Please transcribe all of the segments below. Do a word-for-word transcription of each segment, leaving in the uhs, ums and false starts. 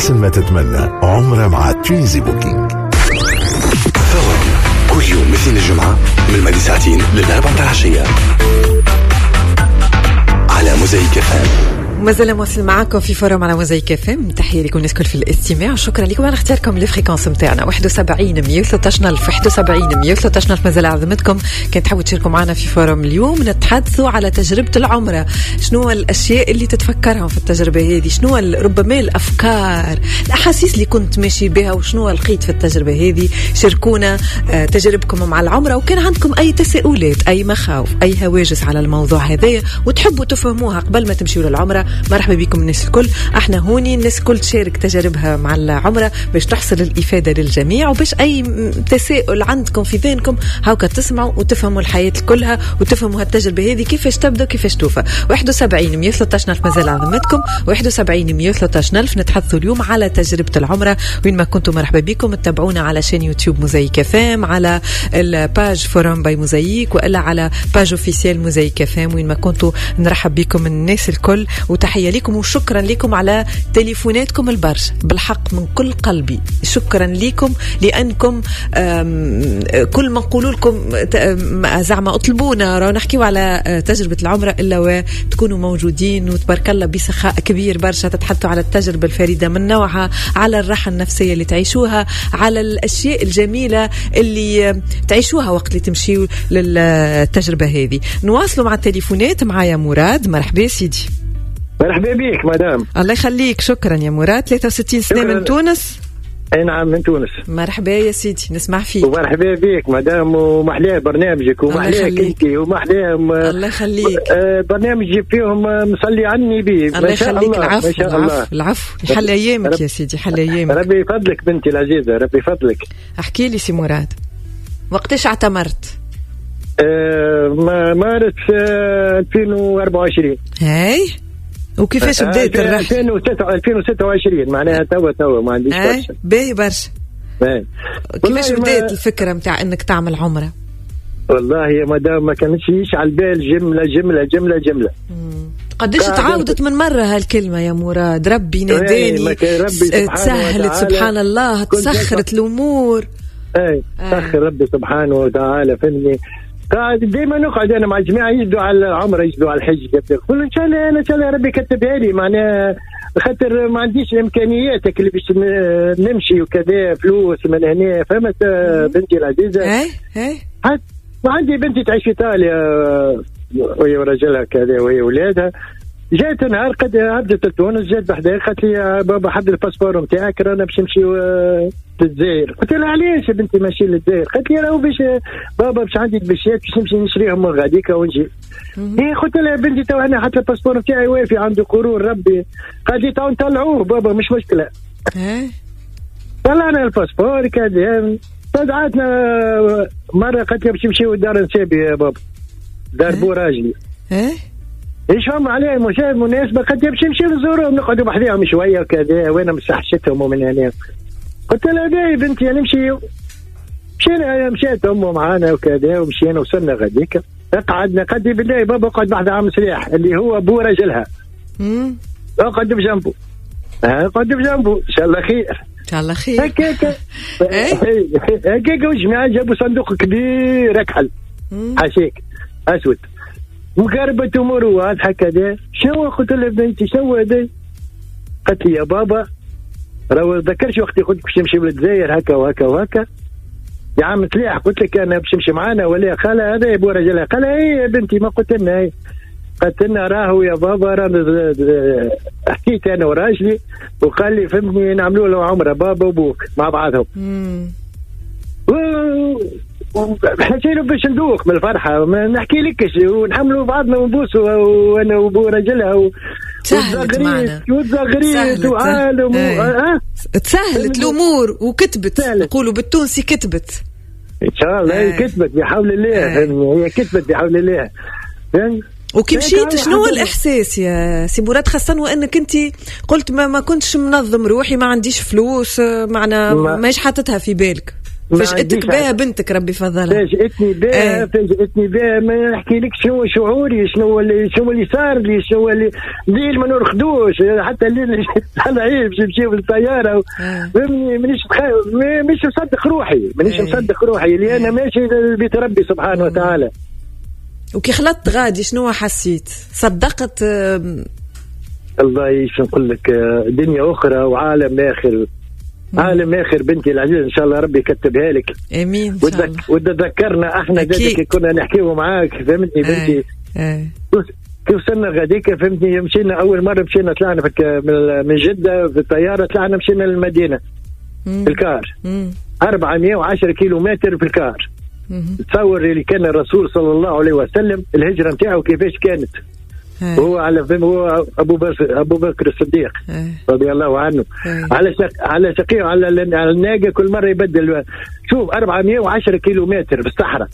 أحسن ما تتمنى عمرة مع Tunisie Booking. Forum كل يوم اثنين الجمعة من الماضي ساعتين للأربعة متاع العشية على موزايك FM. مازال مواصل معاكم في Forum على موزايك FM. تحية لكم الناس الكل في الاستماع وشكرا لكم على اختياركم les fréquences نتاعنا واحد وسبعين مية وثلاثة عشر ألف، واحد وسبعين مية وثلاثة عشر ألف. مازال عظمتكم كان تحبوا تشاركوا معنا في Forum اليوم. نتحدثوا على تجربه العمرة، شنو الاشياء اللي تتفكرهم في التجربة هذه، شنو ربما الافكار، الاحاسيس اللي كنت ماشي بها وشنو لقيت في التجربة هذه. شاركونا تجاربكم مع العمرة، وكان عندكم اي تساؤلات، اي مخاوف، اي هواجس على الموضوع هذايا وتحبوا تفهموها قبل ما تمشيوا للعمرة، مرحبا بكم الناس الكل. احنا هوني الناس الكل تشارك تجاربها مع العمرة باش تحصل الإفادة للجميع، وباش أي تساؤل عندكم في ذهنكم هاكا تسمعوا وتفهموا الحياة كلها وتفهموا هالتجربة هذه كيفاش تبدأ كيفاش توفى. واحد وسبعين مية وثلاثة عشر ألف مازال عظمتكم، واحد وسبعين مية وثلاثة عشر ألف. نتحدثوا اليوم على تجربة العمرة، وين ما كنتم مرحبا بكم. تتابعونا على chaîne YouTube موزايك FM، على ال page Forum by موزايك، والا على page officielle موزايك FM. وين ما كنتوا نرحب بكم الناس الكل، وتحية لكم وشكرا لكم على تليفوناتكم البرشا، بالحق من كل قلبي شكرا لكم، لأنكم كل ما نقولوا لكم زعما اطلبونا راه نحكيو على تجربة العمرة إلا وتكونوا موجودين، وتبارك الله بسخاء كبير برشا تتحدثوا على التجربة الفريدة من نوعها، على الراحة النفسية اللي تعيشوها، على الأشياء الجميلة اللي تعيشوها وقت اللي تمشيوا للتجربة هذه. نواصلوا مع التليفونات. معايا مراد، مرحبا سيدي. مرحبا بك مدام. الله يخليك، شكرا يا مراد. ثلاثة وستين سنة من تونس. اي نعم من تونس. مرحبا يا سيدي، نسمع فيك. ومرحبا بك مدام، ومحلاه برنامجك ومحلاك انت ومحلاه. الله يخليك. برنامج جيب فيهم مصلي على النبي. الله يخليك. العفو ما شاء الله. العفو، حل ايامك يا سيدي، حل ايامك. ربي يفضلك بنتي العزيزة، ربي يفضلك. احكي لي سي مراد، وقتاش اعتمرت؟ آه مارس آه ألفين وأربعة وعشرين. هاي، وكيفاش بدات الرحلة؟ ألفين وستة وعشرين معناها توا توا ما عنديش برشا. باهي برشا. كيفاش بدات الفكرة متاع انك تعمل عمرة؟ والله يا مدام ما كانتش على البال، جملة جملة جملة جملة. قديش تعاودت من مرة هالكلمة يا مراد؟ ربي ناداني، تسهلت سبحان الله، تسخرت الأمور. اي سخر ربي سبحانه وتعالى، فهمني. قاعد ديما نقعد انا مع الجماعة يجدوا على العمرة، يجدوا على الحج، قلت ان شاء الله انا ان شاء الله ربي كتبها لي، معناها خاطر ما عنديش الامكانيات اللي باش نمشي وكذا، فلوس من هنا، فهمت بنتي العزيزة؟ اي اي. وعندي بنتي تعيش في ايطاليا وهي ورجلها كذا وهي ولادها. جات نهار قد عبدت لتونس، جات بحذايا قالت لي يا بابا حد ال passeport نتاعك رانا باش نمشيو للجزائر. قلت لها علاش يا بنتي ماشي للجزائر؟ قالت لي راهو باش بابا باش عندي دبشات باش نمشي نشريهم من غاديك ونجي. إيه قلت لها يا بنتي تو انا حتى ال passeport نتاعي وافي عنده قرون ربي. قالت لي تو نطلعوه بابا مش مشكلة. طلعنا ال passeport كذا. تدعتنا مرة قالت لي باش نمشيو لدار نسابي يا بابا، دار بو راجلي. ايش فما عليه مشاهد مناسبة؟ قالت لي باش نمشيو نزوروهم نقعدوا بحذاهم شوية وكذا، وانا مسحشتهم ومن هنا. قلت لها باهي بنتي نمشيو. مشينا، مشات امه معانا وكذا ومشينا وصلنا غاديك قعدنا. قالت لي بالله بابا اقعد بحذا عم سلاح اللي هو ابو راجلها، اقعد بجنبه، اقعد بجنبه ان شاء الله خير، ان شاء الله خير. هكاك هكاك والجماعة جابوا صندوق كبير اكحل حاشيك اسود وقربت اموره واضحة كذا. شنو؟ قلت لها بنتي شنو هذا؟ قالت لي يا بابا راهو ذكرش وقت قلت باش نمشي للجزائر هكا وهكا وهكا يا عم سلاح، قلت لك انا باش نمشي معانا ولا؟ قال هذا يا ابو رجلها. قال اي يا بنتي ما قلت لنا؟ اي قالت لنا راهو يا بابا رانا حكيت انا وراجلي وقال لي فهمتني نعملوا له عمره بابا وابوك مع بعضهم. حكينا باش ندوق من الفرحة ما نحكي لكش، ونحملوا بعضنا ونبوسوا وانا وابو رجلها و... تسهلت معنا وتزغريت وعالم. أه؟ تسهلت الامور وكتبت، نقولوا بالتونسي كتبت ان شاء الله. هي كتبت بحول الله، هي كتبت بحول الله. وكي مشيت شنو الاحساس يا سي مراد، خاصة وانك انت قلت ما, ما كنتش منظم روحي، ما عنديش فلوس، معنا ماش حاطتها في بالك؟ فاجأتك بها بنتك ربي فضلها. فاجأتني بها، فاجأتني بها، ما نحكي لك شنو شعوري، شنو اللي شنو اللي صار لي، شنو اللي الليل ما نرقدوش حتى الليل طالعين باش نمشيو بالطيارة، فهمني؟ مانيش مانيش مصدق روحي، مانيش مصدق روحي اللي انا ماشي لبيت ربي سبحانه وتعالى. وكي خلطت غادي شنو حسيت؟ صدقت؟ الله شو نقول لك، دنيا اخرى وعالم اخر، عالم اخر بنتي العزيزة، ان شاء الله ربي يكتبها لك. امين. وتذكرنا احنا ذلك كنا نحكيه معاك، فهمتني بنتي؟ ايه. كيف وصلنا غاديك فهمتني، مشينا اول مرة مشينا طلعنا من جده في الطيارة، طلعنا مشينا للمدينة في الكار، أربعمائة وعشرة كيلومتر في الكار. تصور اللي كان الرسول صلى الله عليه وسلم الهجرة نتاعو كيفاش كانت. هو على هو ابو بكر ابو بكر الصديق رضي الله عنه، على شق على شقيه على الناقة كل مرة يبدل. شوف أربعمائة وعشرة كيلومتر في الصحراء،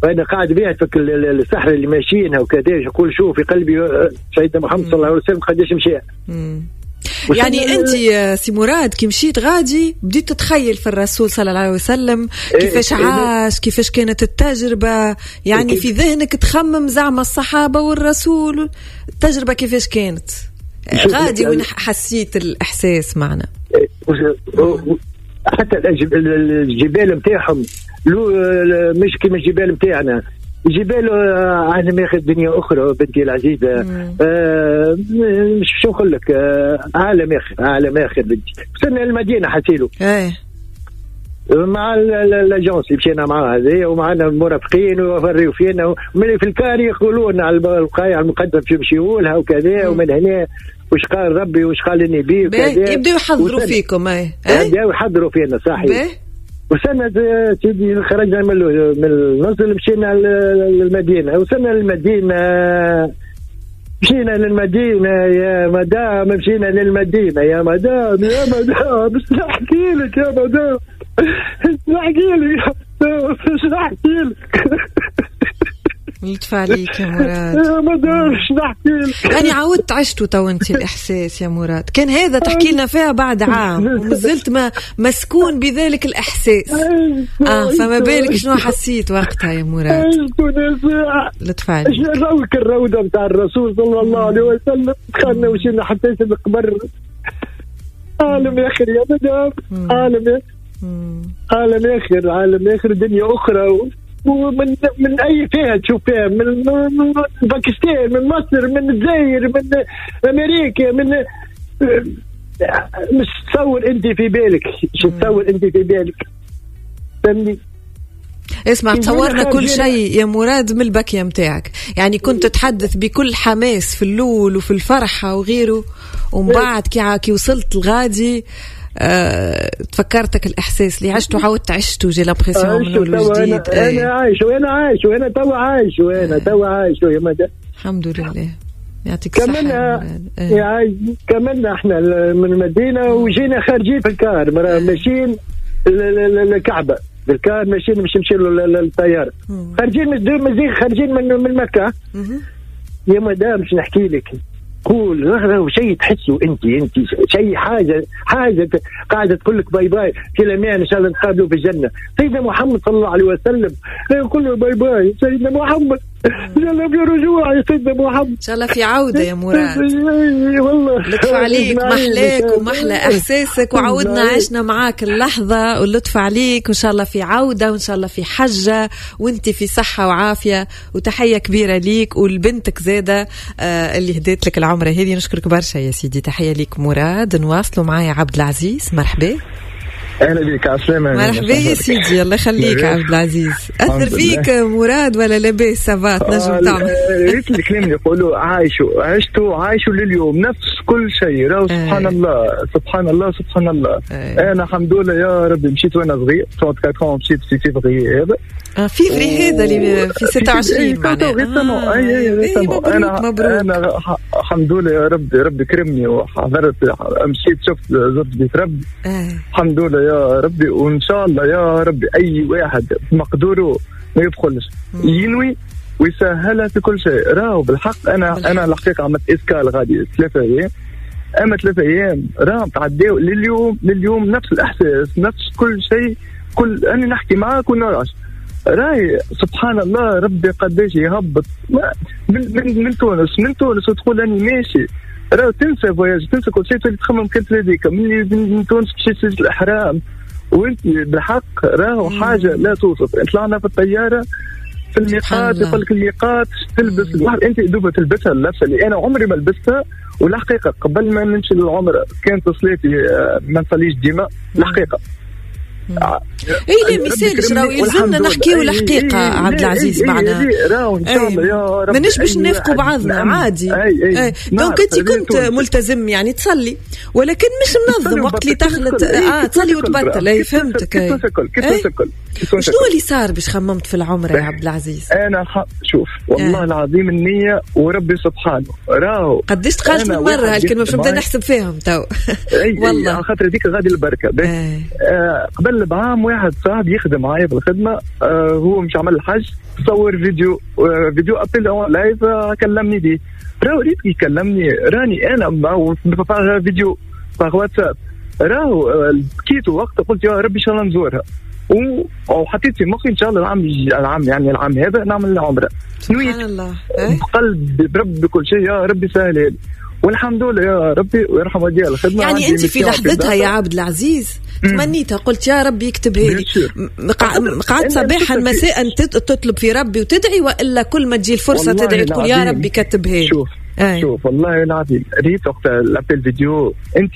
وانا قاعد بها في الصحراء اللي ماشيينها وكذا، يقول شوف في قلبي سيدنا محمد صلى الله عليه وسلم قداش مشى. يعني انت سي مراد كي مشيت غادي بديت تتخيل في الرسول صلى الله عليه وسلم كيفاش عاش، كيفاش كانت التجربة، يعني في ذهنك تخمم زعما الصحابة والرسول التجربة كيفاش كانت غادي، وين حسيت الإحساس معنا؟ حتى الجبال نتاعهم مش كيما الجبال نتاعنا، جبال عالم ياخذ دنيا اخرى بنتي العزيزة. آه مش شو نقول لك، آه عالم اخر، عالم اخر بنتي. وصلنا للمدينة حسيلو ايه مع l'agence اللي مشينا معاها هذه، ومعنا المرافقين وفريو فينا، ومن في الكار يقولوا لنا على البقايع المقدسة باش يمشيوا لها وكذا، ومن هنا وش قال ربي وش قال النبي وكذا، يبداو يحضروا فيكم. ايه يبداو يحضروا فينا صحيح. وصلنا سيدي خرجنا من من النزل مشينا للمدينة، وصلنا للمدينة مشينا للمدينة يا مدام، مشينا للمدينة يا مدام، يا مدام مش نحكي لك يا مدام، مش نحكي لك، مش نحكي لك. لطف عليك يا مراد. يا مدام مش نحكي لك. يعني عاودت عشتو تو انت الاحساس يا مراد، كان هذا تحكي لنا فيها بعد عام ومازلت ما مسكون بذلك الاحساس. اه فما بالك شنو حسيت وقتها يا مراد؟ لطف عليك. روك الروضة نتاع الرسول صلى الله عليه وسلم، دخلنا وشينا حتى القبر. عالم اخر يا مدام، عالم اخر، عالم اخر، عالم اخر، دنيا اخرى. ومن من اي فئة تشوف فيها، من, من باكستان، من مصر، من الجزائر، من امريكا، من مش تصور انت في بالك، مش تصور انت في بالك، فهمني؟ اسمع، تصورنا كل شيء يا مراد من البكية متاعك، يعني كنت تتحدث بكل حماس في اللول وفي الفرحة وغيره، ومن بعد كي كي وصلت الغادي أه، تفكرتك الإحساس اللي عشته عاودت عشته، j'ai l'impression من أول وجديد. أنا, أنا عايش وأنا عايش وأنا توا عايش وأنا توا عايش يا مدى. الحمد لله، يعطيك الصحة. كملنا يا كملنا احنا من المدينة وجينا خارجين في الكار، ماشيين للكعبة بالكار، ماشيين مش نمشيو للطيارة، خارجين مازال خارجين من من مكة. يا مدام مش نحكي لك، قول رغرة وشيء تحسه انت انت شيء حاجة حاجة قاعدة تقول لك bye bye في الامان، ان شاء الله نتقابلوا في الجنة. سيدنا محمد صلى الله عليه وسلم يقول له bye bye سيدنا محمد، ان شاء الله في رجوع يا سيدنا محمد، ان شاء الله في عوده يا مراد. والله لطف عليك، محلاك ومحلى احساسك، وعودنا عشنا معاك اللحظة، واللطف عليك، وان شاء الله في عوده، وان شاء الله في حجه، وانت في صحة وعافيه، وتحية كبيرة ليك ولبنتك زاده آه اللي هديت لك العمرة هذه. نشكرك برشا يا سيدي، تحية ليك مراد. نواصلوا معايا عبد العزيز، مرحبا. اهلا بك، عسلامة. مرحبا يا سيدي، الله يخليك عبد العزيز. اثر فيك مراد ولا لاباس؟ ça va تنجم تعمل ريت الكلام اللي يقولوا عايشوا، عشتوا عايشوا لليوم نفس كل شيء، راهو سبحان الله سبحان الله سبحان الله. انا الحمد لله يا ربي مشيت وانا صغير أربعة وثلاثين، مشيت في فيفري هذا، اه فيفري هذا اللي في ستة وعشرين معناها. اي اي انا انا الحمد لله يا ربي، ربي كرمني وحضرت، مشيت شفت زرت بيت ربي الحمد لله يا ربي. وان شاء الله يا ربي اي واحد مقدوره ما يبخلش، ينوي ويسهلها في كل شيء. راهو بالحق انا بالحق. انا الحقيقة عملت escale غادي ثلاثة ايام، اما ثلاثة ايام راهم تعداو لليوم، لليوم نفس الاحساس نفس كل شيء. كل انا نحكي معاك ونرعش. راي سبحان الله ربي قداش يهبط من, من, من تونس من تونس وتقول اني ماشي، راه تنسى voyage، تنسى كل شيء، تولي تخمم كان هذيك من من تونس مشيت الاحرام وانت بالحق راهو حاجة لا توصف. طلعنا في الطيارة في الميقات، يقول لك الميقات تلبس الواحد انت دوبه تلبسها اللبسه اللي انا عمري ما لبستها. والحقيقة قبل ما نمشي للعمرة كانت صلاتي ما نصليش ديما الحقيقة. اي لا مثالش راهو يلزمنا نحكيو الحقيقة عبد العزيز معنا، راهو ان شاء الله يا رب مانيش باش نافقوا بعضنا عادي. أي أي. donc انت كنت ملتزم يعني تصلي ولكن مش منظم وقت اللي تخلط اه تصلي وتبطل. اي فهمتك. اي شنو اللي صار باش خممت في العمرة يا عبد العزيز؟ انا شوف والله آه. العظيم النية وربي سبحانه راهو قداش تقالت من مرة هالكلمة باش نبدا نحسب فيهم تو. والله على خاطر هذيك غادي البركة. آه قبل بعام واحد صاحب يخدم معايا في الخدمة آه هو مش عمل الحج، صور فيديو آه vidéo appel en live آه كلمني بيه. راهو ريت يكلمني راني انا par vidéo par واتساب، راهو بكيت وقت قلت يا ربي ان شاء الله نزورها، وحطيت في مخي ان شاء الله العام العام يعني العام هذا نعمل العمرة. سبحان الله بقلب برب بكل شيء يا ربي سهل، والحمد لله يا ربي ويرحم والدي الخدمة. يعني انت في لحظتها يا عبد العزيز تمنيتها، قلت يا ربي يكتبها لي، قعدت صباحا مساء تطلب في ربي وتدعي، والا كل ما تجي الفرصة تدعي تقول يا ربي كتبها لي؟ شوف أي. شوف والله العظيم ريت وقت ال appel vidéo انت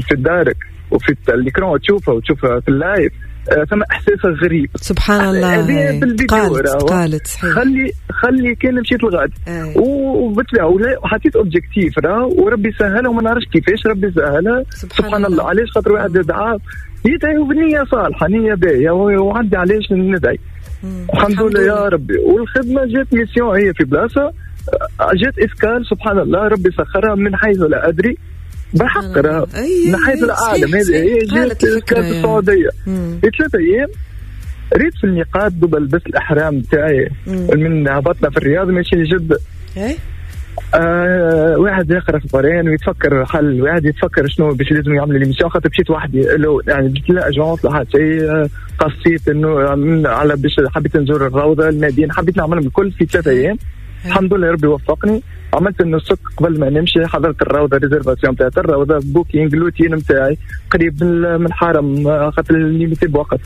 في دارك وفي ال écran تشوفها وتشوفها في ال live، ثم احساس غريب سبحان الله. قالت قالت صحيح. خلي خلي كان مشيت لغادي وبالطبيعه وحطيت objectif راه وربي سهلها وما نعرفش كيفاش ربي سهلها سبحان, سبحان الله. علاش؟ خاطر واحد دعا يدعي بنيه صالحه، نيه باهيه، وعندي علاش ندعي الحمد لله يا ربي. والخدمة جات mission هي في بلاصة جات escale سبحان الله ربي سخرها من حيث لا ادري بحق راه من حيث العالم. هذه هي جات في السعودية في ثلاثة ايام ريت في الميقات دوب لبست الاحرام تاعي من هبطنا في الرياض ماشي لجده. آه واحد يقرا في القران ويتفكر حل، واحد يتفكر شنو باش لازم يعمل l'émission، خاطر مشيت وحدي يعني لا agence لا حتى شيء، قصيت انه على باش حبيت نزور الروضة المدينة، حبيت نعملهم الكل في ثلاثة ايام. الحمد لله ربي وفقني، عملت النسك قبل ما نمشي، حضرت الروضة réservation تاع الروضة booking l'hôtel نتاعي قريب من الحرم خاطر limité بوقت.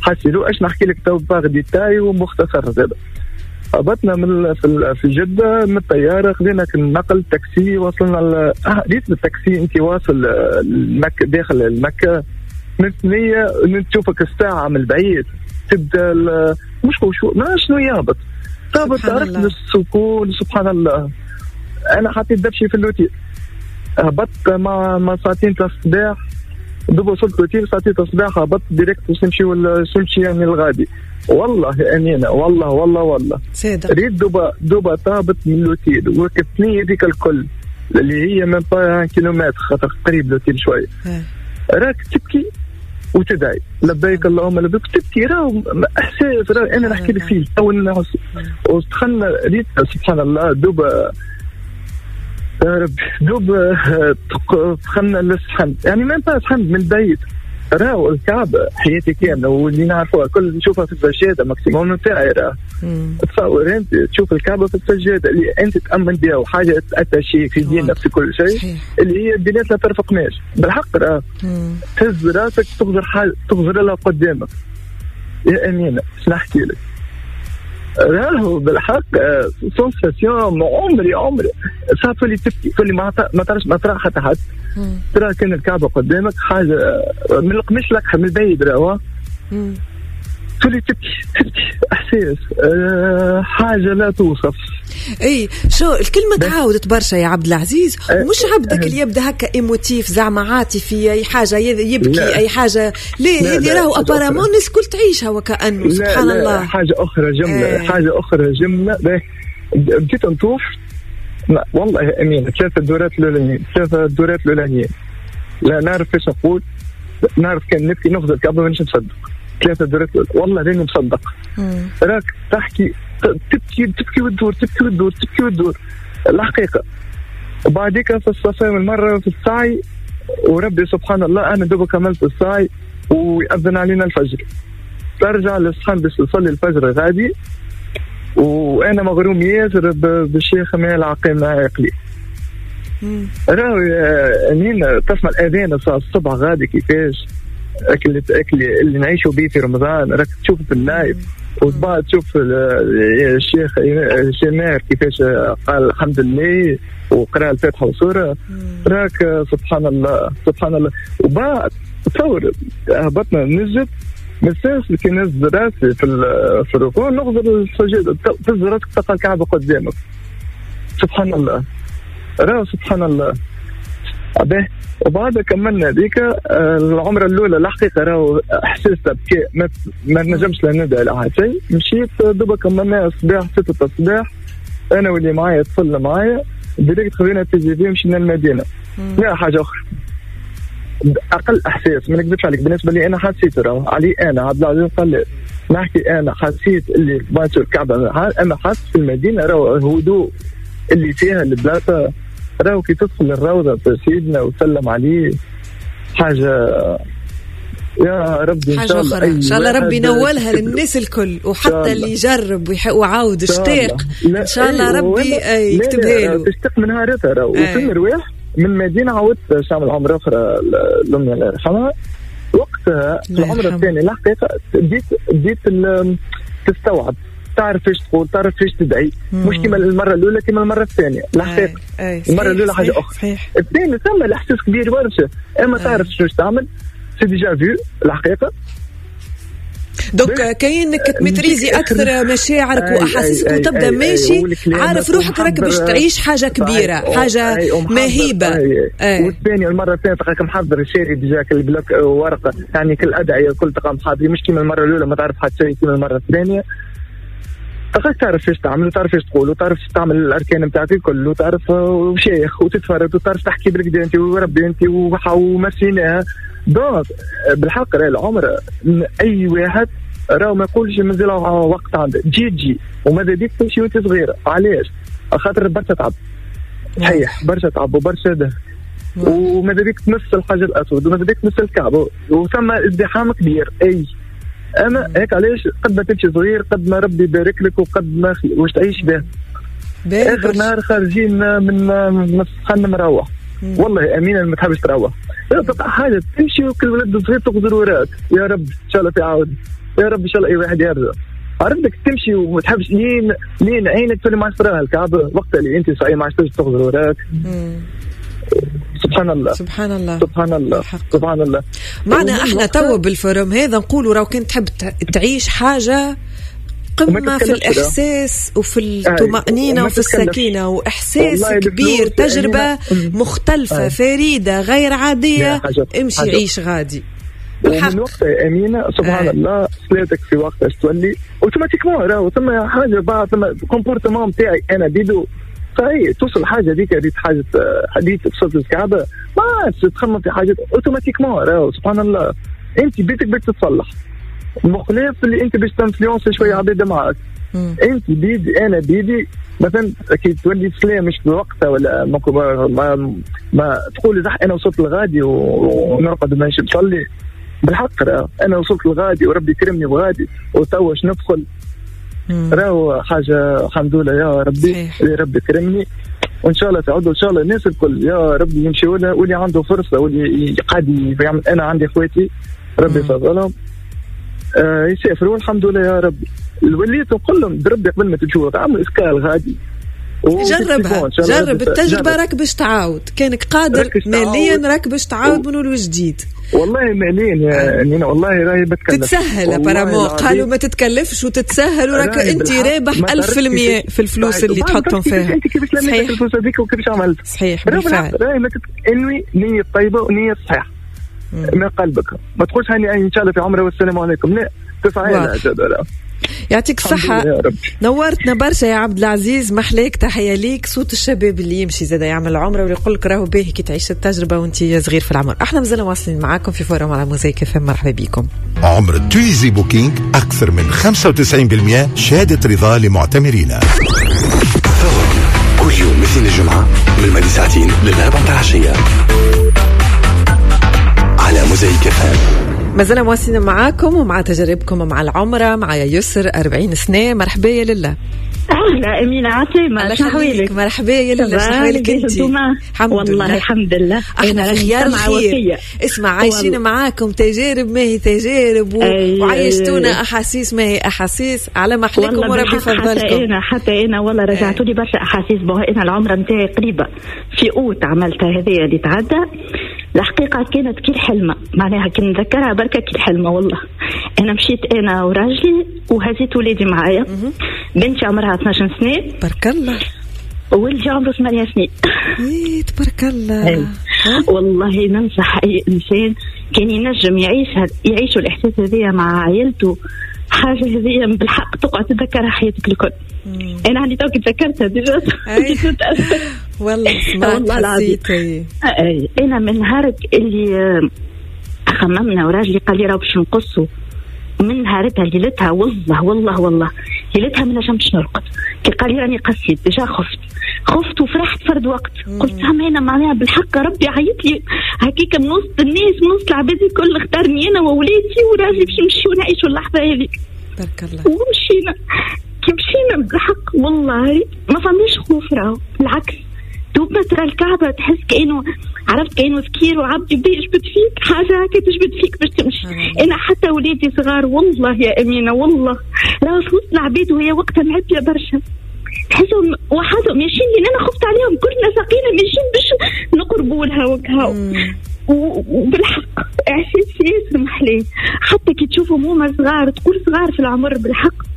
حسيلو اش نحكي لك تو par détail ومختصر زاد. هبطنا من في جده من الطيارة، خذينا النقل تاكسي، وصلنا ل... آه ريت بالتاكسي انت واصل المكة داخل المكة من ثنيه تشوفك الساعة من البعيد تبدا ال... مش شو ما شنو يهبط تهبط عرفت السكون سبحان الله. انا حطيت دبشي في l'hôtel، هبطت مع مع ساعتين تاع الصباح، دوب وصلت l'hôtel ساعتين تاع الصباح هبطت direct باش نمشي نمشي يعني الغادي. والله يا امينه والله والله والله ريت دوبا دوبا طابت من l'hôtel وركبتني هذيك الكل اللي هي même pas kilomètre خاطر قريب l'hôtel شوية، راك تبكي وتدعي لبيك اللهم لبيك تبكي، راهو احساس راهو انا نحكي لك فيه تو. ودخلنا ريت سبحان الله دوبا يا ربي دوب دخلنا للصحن يعني même pas صحن من البيت، راهو الكعبة حياتي كاملة واللي نعرفوها كل نشوفها في السجادة maximum نتاعي، راه تصور انت تشوف الكعبة في السجادة اللي انت تأمن بها وحاجة attachée في ديننا في كل شيء اللي هي البنات لا ترفقناش بالحق، راه تهز راسك تغزر حاجة تغزر لها قدامك يا أمينة اش نحكي لك، راهو بالحق sensation عمري عمري صار تولي تبكي تولي ما ما تعرفش ما ترى حتى حد، ترى كان الكعبة قدامك حاجة من القماش لك من البعيد راهو تولي تبكي تبكي احساس أه حاجة لا توصف. اي شو الكلمة تعاودت برشا يا عبد العزيز، ومش عبدك اللي يبدا هكا émotif زعما عاطفي اي حاجة يبكي لا. اي حاجة ليه هذه راهو apparemment الناس الكل تعيشها وكانه سبحان لا الله. حاجة اخرى جملة ايه. حاجة اخرى جملة بديت نطوف والله يا امين ثلاثة دورات الاولانيين ثلاثة دورات الاولانيين لا نعرف ايش نقول، نعرف كان نبكي نفضل الكعبة مانيش نصدق ثلاثة دورات والله راني مصدق. راك تحكي تبكي تبكي وتدور تبكي وتدور تبكي وتدور الحقيقة. وبعديك في الصفا والمرة في السعي وربي سبحان الله أنا دوبا كملت السعي ويأذن علينا الفجر. ترجع للصحن باش تصلي الفجر غادي. وانا مغروم ياسر بالشيخ مال عقيم عقلي. راهو امين تسمع الاذان الصبح غادي كيفاش اكل اكل اللي نعيشوا به في رمضان، راك تشوف في ال live وبعد تشوف الشيخ الشمار كيفاش قال الحمد لله وقرا الفاتحة وسورة، راك سبحان الله سبحان الله. وبعد تصور هبطنا نسجد مساس كي نزل راسي في في الركوع نغزر السجادة، تهز راسك تلقى الكعبة قدامك. سبحان الله، راه سبحان الله. به وبعد كملنا هذيك العمرة الاولى. الحقيقة راهو احساس بكاء ما, ما نجمش لا ندعي لا شيء. مشيت دوبا كملنا الصباح ستة الصباح، انا واللي معايا طفل معايا direct خذينا TGV مشينا للمدينة. لا حاجة اخرى اقل احساس ما نكذبش عليك، بالنسبة لي انا حسيت راهو علي انا عبد العزيز قال نحكي انا حسيت اللي باتو الكعبة، انا حاسس في المدينة راهو الهدوء اللي فيها البلاصة، راهو كي تدخل الروضة في سيدنا وتسلم عليه حاجة يا ربي. حاجة أخرى إن شاء الله ربي ينولها للناس الكل، وحتى اللي يجرب وعاود اشتاق إن شاء الله ربي يكتبها له. تشتاق من نهارتها راهو. وفي المروح من المدينة عاودت شامل عمرة أخرى لأمي الله يرحمها. وقتها العمرة الثانية الحقيقة بديت بديت تستوعب، تعرف ايش تقول، تعرف ايش تدعي، مش كما المرة الاولى كما المرة الثانية. الحقيقة المرة الاولى حاجة اخرى، الثانية ثم الاحساس كبير برشا، اما تعرف شنو تعمل، c'est déjà vu الحقيقة. donc كاينك ت maîtriser اكثر مشاعرك واحاسيسك وتبدا ماشي عارف روحك راك باش تعيش حاجة كبيرة، حاجة مهيبة. والثانية المرة الثانية تلقاك محضر شاري déjà كل bloc ورقة، يعني كل ادعية كل تلقى محضر، مش كيما المرة الاولى ما تعرف حتى شيء كيما المرة الثانية. تلقاك تعرف ايش تعمل وتعرف ايش تقول وتعرف تعمل الاركان نتاعك الكل وتعرف وشيخ وتتفرد وتعرف تحكي بالكدا انت وربي انت ومسيناها. donc بالحق راه العمر اي واحد راه ما يقولش مازال وقت عنده، تجي تجي وماذا بيك تمشي وانت صغيرة. علاش؟ خاطر برشا تعب، صحيح برشا تعب وبرشا ده، وماذا بيك تمس الحجر الاسود وماذا بيك تمس الكعبة وثم ازدحام كبير. اي اما هيك علاش قد ما تمشي صغير قد ما ربي يبارك لك وقد ما واش تعيش به. اخر نهار خارجين من من السخن مروح، والله امينه ما تحبش تروح، تقع حاجة تمشي وكل ولد صغير تقدر وراك يا رب ان شاء الله تعاود، يا رب ان شاء الله اي واحد يرجع. عرفتك تمشي وما تحبش لين لين عينك تولي ما عادش تراها الكعبة وقت اللي انت صحيح ما عادش تغزر وراك. سبحان الله سبحان الله سبحان الله سبحان الله. معنا احنا تو بال forum هذا نقولوا راهو كنت تحب تعيش حاجة قمة في الإحساس وفي الطمأنينة وفي السكينة وإحساس كبير، تجربة مختلفة فريدة غير عادية، امشي عيش غادي. ومن وقتها يا أمينة سبحان آه. الله صلاتك في وقتها تولي automatiquement راهو ثم حاجة بعد ثم comportement نتاعي أنا بيدو صحيح توصل حاجة ديك هذيك حاجة حديث وصلت للكعبة ما عادش تخمم في حاجة automatiquement راهو سبحان الله. أنت بيتك باش تتصلح مخلاف اللي انت باش ت influencer شوية عباد معاك. انت بيدي انا بيدي مثلا كي تولي سلام مش بوقتها ولا ما, ما, ما تقول صح انا وصلت لغادي ونرقد ماشي نصلي بالحق، راه انا وصلت لغادي وربي كرمني بغادي وتوش ندخل راهو حاجة الحمد لله يا ربي اللي ربي كرمني، وان شاء الله تعود وان شاء الله الناس الكل يا ربي يمشيوا لها واللي عنده فرصة واللي قاعد يعمل. انا عندي اخواتي ربي يفضلهم آه يسافروا الحمد لله يا ربي. وليت نقول لهم بربي قبل ما تمشوا عملوا escale غادي جربها، جرب التجربة راك باش تعاود، كانك قادر ماليا راك باش تعاود من الجديد. والله ماليا يا نينا والله راهي بتكلف تتسهل apparemment، قالوا ما تتكلفش وتتسهل وراك انت رابح ألف في المية في الفلوس اللي تحطهم فيها. انت كيفاش لميت الفلوس هذيك وكيفاش عملت؟ صحيح بالفعل. راهي ما انوي نية طيبة ونية صحيحة من قلبك، ما تقولش هاني ان شاء الله في عمره والسلام عليكم، لا تفعل. يعطيك الصحة، نورتنا برشا يا عبد العزيز، محلاك، تحية ليك. صوت الشباب اللي يمشي زاد يعمل عمره واللي يقول لك راهو باهي كي تعيش التجربة وانت صغير في العمر. احنا مازلنا واصلين معاكم في forum على موزايك اف ام، مرحبا بكم. عمر Tunisie Booking أكثر من خمسة وتسعين بالمئة شهادة رضا لمعتمرينا. كل يوم مثل الجمعة من الماضي ساعتين للأربعة عشية على موزايك اف ام. مازلنا مواصلين معاكم ومع تجاربكم مع العمرة. معايا يسر أربعين سنة، مرحبا يا لله. أهلا أمينة، عسلامة، شنو حوالك؟ مرحبا يا لله، شنو حوالك أنت؟ الحمد والله لله. الحمد لله، احنا في خيار الخير. اسمع، عايشين معاكم تجارب ما هي تجارب و... وعايشتونا أحاسيس ما هي أحاسيس، على ما حليكم وربي فضلكم. حتى أنا حتى أنا والله رجعتوا لي برشا أحاسيس. bon أنا العمرة نتاعي قريبة في أوت عملتها هذه اللي تعدى. الحقيقة كانت كي الحلمة، معناها كي نذكرها بركة كي الحلمة والله. أنا مشيت أنا وراجلي وهزيت ولادي معايا، بنتي عمرها اثنا عشر سنة تبارك الله، وولدي عمره ثمانية سنين. إيه تبارك الله. والله ننصح أي إنسان كان ينجم يعيش يعيشوا الإحساس هذايا مع عائلته، حاجة هذه بالحق تقعد تذكرها حياتك الكل. أنا عندي توك تذكرتها déjà. والله سمعت حسيت. أنا من نهارك اللي خممنا وراجلي قال لي راه باش نقصوا، من نهارتها ليلتها والله والله والله ليلتها ما نجمتش نرقد. كي قال لي راني قصيت déjà خفت خفت وفرحت فرد وقت. قلت هم انا معناها بالحق ربي عيط لي هكيك من وسط الناس، من وسط العباد الكل، اختارني انا وولادي وراجلي باش نمشيو نعيشوا اللحظة هذيك. بارك الله. ومشينا، كي مشينا بالحق والله ما فماش خوف، راهو بالعكس دوب ما ترى الكعبة تحس كأنه عرفت كأنه سكير وعبد يبدا يجبد فيك حاجة هكا تجبد فيك باش تمشي. أنا حتى ولادي صغار والله يا أمينة والله لا في وسط العباد وهي وقتها معبية برشا، تحسهم وحدهم ماشيين، لأن أنا خفت عليهم، كلنا ساقينا ماشيين باش نقربوا لها وكهو. وبالحق إحساس ياسر محلاه، حتى كي تشوفهم هما صغار تقول صغار في العمر بالحق،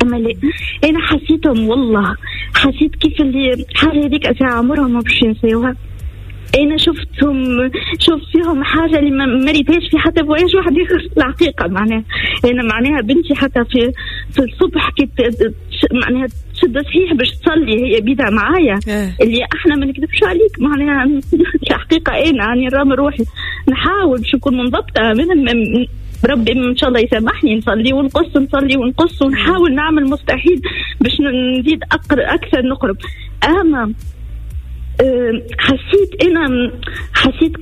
أما لا أنا حسيتهم والله حسيت كيف اللي حاجة هذيك ساعة عمرهم ما باش ينساوها. أنا شفتهم شفت فيهم حاجة اللي ما ريتهاش في حتى voyage واحد آخر الحقيقة. معناها أنا معناها بنتي حتى في في الصبح كي معناها تشد صحيح باش تصلي هي بيدها معايا، اللي احنا ما نكذبش عليك معناها الحقيقة أنا يعني رام روحي نحاول باش نكون منضبطة من ربي ان شاء الله يسامحني، نصلي ونقص نصلي ونقص ونحاول نعمل مستحيل باش نزيد اكثر نقرب. اما حسيت انا حسيت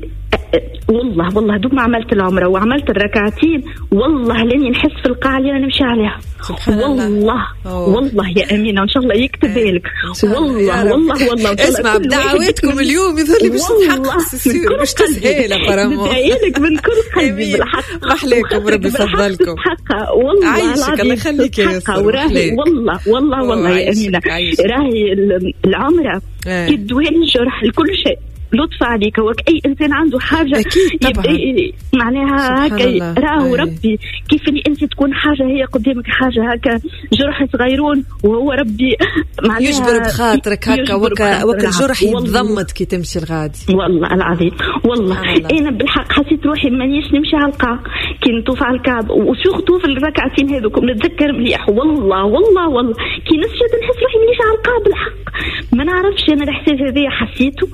والله والله دوب ما عملت العمرة وعملت الركعتين والله لاني نحس في القاعة اللي انا نمشي عليها. سبحان والله الله. والله يا امينه ان شاء الله يكتب لك والله والله والله. اسمع بدعواتكم اليوم يظهر لي باش تتحقق السيور باش تسهل apparemment. ندعي من كل قلبي بالحق. محلاكم ربي يفضلكم. والله عايشك الله يخليك يا يسر. والله والله والله يا امينه راهي العمرة كدوان الجرح لكل شيء. لطف عليك، هو اي انسان عنده حاجة اكيد طبعا معناها هكا راهو ربي كيف اللي انت تكون حاجة هي قدامك حاجة هكا جرح صغيرون وهو ربي معناها يجبر بخاطرك هكا وكا وكا الجرح يتضمد كي تمشي الغادي. والله العظيم والله انا بالحق حسيت روحي مانيش نمشي على القاع كي نطوف على الكعب و surtout في الركعتين هذوك نتذكر مليح والله والله والله كي نسجد نحس روحي مانيش على القاع بالحق. ما نعرفش انا الاحساس هذايا حسيته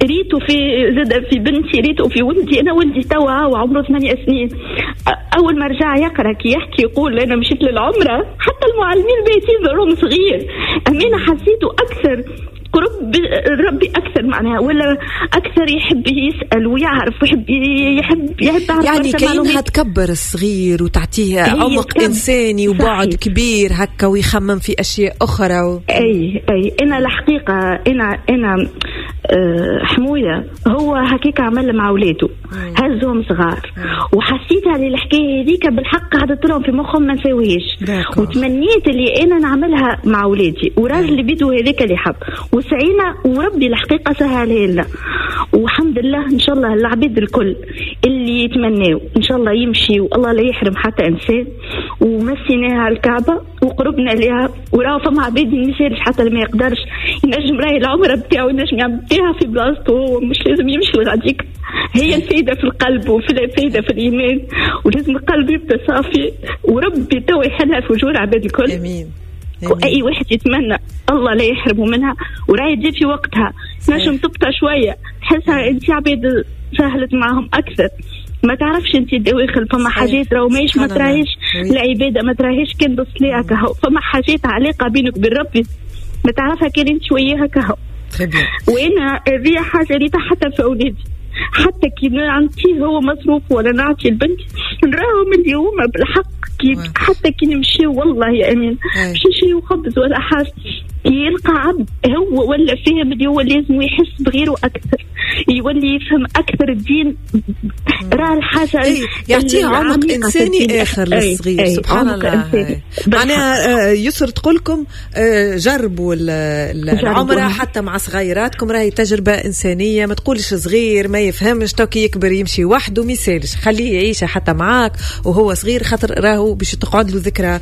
ريته في زاد في بنتي ريته في ولدي. انا ولدي توا وعمره ثمانية سنين اول ما رجع يقرا كي يحكي يقول انا مشيت للعمرة حتى المعلمين بيتين ظهرهم صغير. امينه حسيته اكثر قرب ربي اكثر معناها ولا اكثر يحب يسال ويعرف ويحب يحب يحب يعني كأنها تكبر الصغير وتعطيه عمق انساني وبعد كبير هكا ويخمم في اشياء اخرى و... اي اي انا الحقيقة انا انا أه حمويه هو هكاك عمل مع اولاده هزهم صغار وحسيت على الحكاية هذيك بالحق قعدت لهم في مخهم ما نساويش وتمنيت اللي انا نعملها مع اولادي وراجل بيدو هذاك اللي حب وسعينا وربي الحقيقة سهلها لنا والحمد لله. ان شاء الله العبيد الكل اللي يتمناو ان شاء الله يمشي والله لا يحرم حتى انسان. ومسيناها على الكعبة وقربنا لها وراه فما عباد ما يسالش حتى اللي ما يقدرش ينجم راهي العمرة بتاعو ينجم يعملها في بلاصتو مش لازم يمشي لغاديك. هي الفايدة في القلب وفي الفايدة في الايمان ولازم القلب يبدا صافي وربي تو يحلها في وجوه العباد الكل. امين. واي واحد يتمنى الله لا يحرمه منها وراهي تجي في وقتها نجم تبطى شوية تحسها انت عباد سهلت معهم اكثر ما تعرفش انت الدواخل فما حاجات راهو ماهيش ما تراهيش العبادة ما تراهيش كان بالصلاة كهو فما حاجات علاقة بينك وبين ربي ما تعرفها كان انت شوية كهو. وانا هذه حاجة ريتها حتى في اولادي حتى كي نعطيه هو مصروف ولا نعطي البنت نراهم اليوم بالحق كي حتى كي نمشي والله يا امين مش نشريو خبز ولا حاجة، يلقى عبد هو ولا فهم اللي هو لازم يحس بغيره اكثر، يولي يفهم اكثر الدين، راه الحاجة أي يعطيه عمق انساني اخر للصغير. أي سبحان الله. معناها يسر تقولكم جربوا العمرة حتى مع صغيراتكم، راهي تجربه انسانيه، ما تقولش صغير ما يفهمش تو كي يكبر يمشي وحده، ما يسالش، خليه يعيشها حتى معاك وهو صغير، خاطر راهو باش تقعد له ذكرى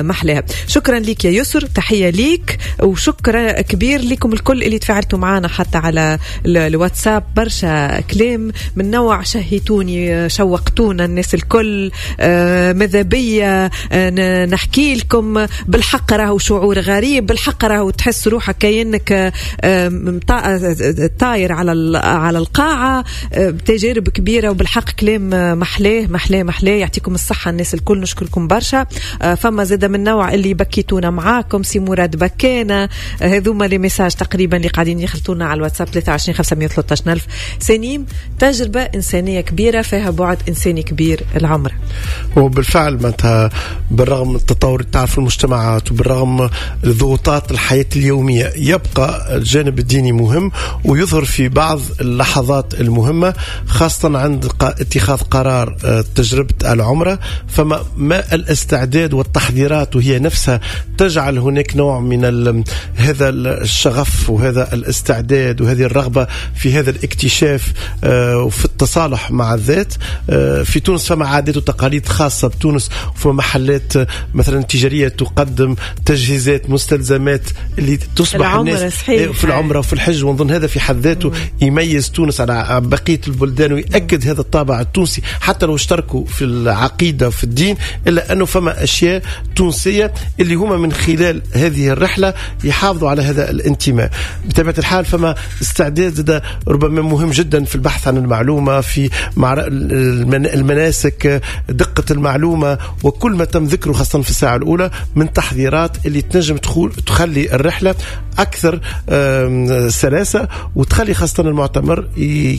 محلاها. شكرا لك يا يسر، تحية ليك وشكرا كبير لكم الكل اللي تفاعلتوا معنا حتى على الواتساب، برشا كلام من نوع شهيتوني شوقتونا الناس الكل، ماذا بيا نحكي لكم بالحق راهو شعور غريب، بالحق راهو تحس روحك كأنك طاير على على القاعة، تجارب كبيرة وبالحق كلام محلاه محلاه محلاه. يعطيكم الصحة الناس الكل، نشكركم برشا. فما زاد من نوع اللي بكيتونا معاكم، سي مراد بكانا، هذوما les messages تقريبا اللي قاعدين يخلطونا على الواتساب ثلاثة وعشرين خمسمية وثلاثة عشر ألف. سنيم، تجربة إنسانية كبيرة فيها بعد إنساني كبير العمرة. وبالفعل معناتها بالرغم من التطور تاع في المجتمعات وبالرغم الضغوطات الحياة اليومية يبقى الجانب الديني مهم ويظهر في بعض اللحظات المهمة، خاصة عند اتخاذ قرار تجربة العمرة. فما ما الاستعداد والتحضيرات وهي نفسها تجعل هناك نوع من هذا الشغف وهذا الاستعداد وهذه الرغبة في هذا الاكتشاف وفي التصالح مع الذات. في تونس فما عادات وتقاليد خاصة بتونس، وفما محلات مثلا تجارية تقدم تجهيزات مستلزمات اللي تصبح الناس في العمرة وفي الحج، ونظن هذا في حد ذاته يميز تونس على بقية البلدان ويأكد هذا الطابع التونسي، حتى لو اشتركوا في العقيدة وفي الدين، إلا أنه فما أشياء تونسية اللي هما من خلال هذه الرحلة يحافظوا على هذا الانتماء. بطبيعة الحال فما استعداد ربما مهم جدا في البحث عن المعلومة، في المناسك، دقة المعلومة، وكل ما تم ذكره خاصة في الساعة الأولى من تحضيرات اللي تنجم تخلي الرحلة أكثر سلاسة وتخلي خاصة المعتمر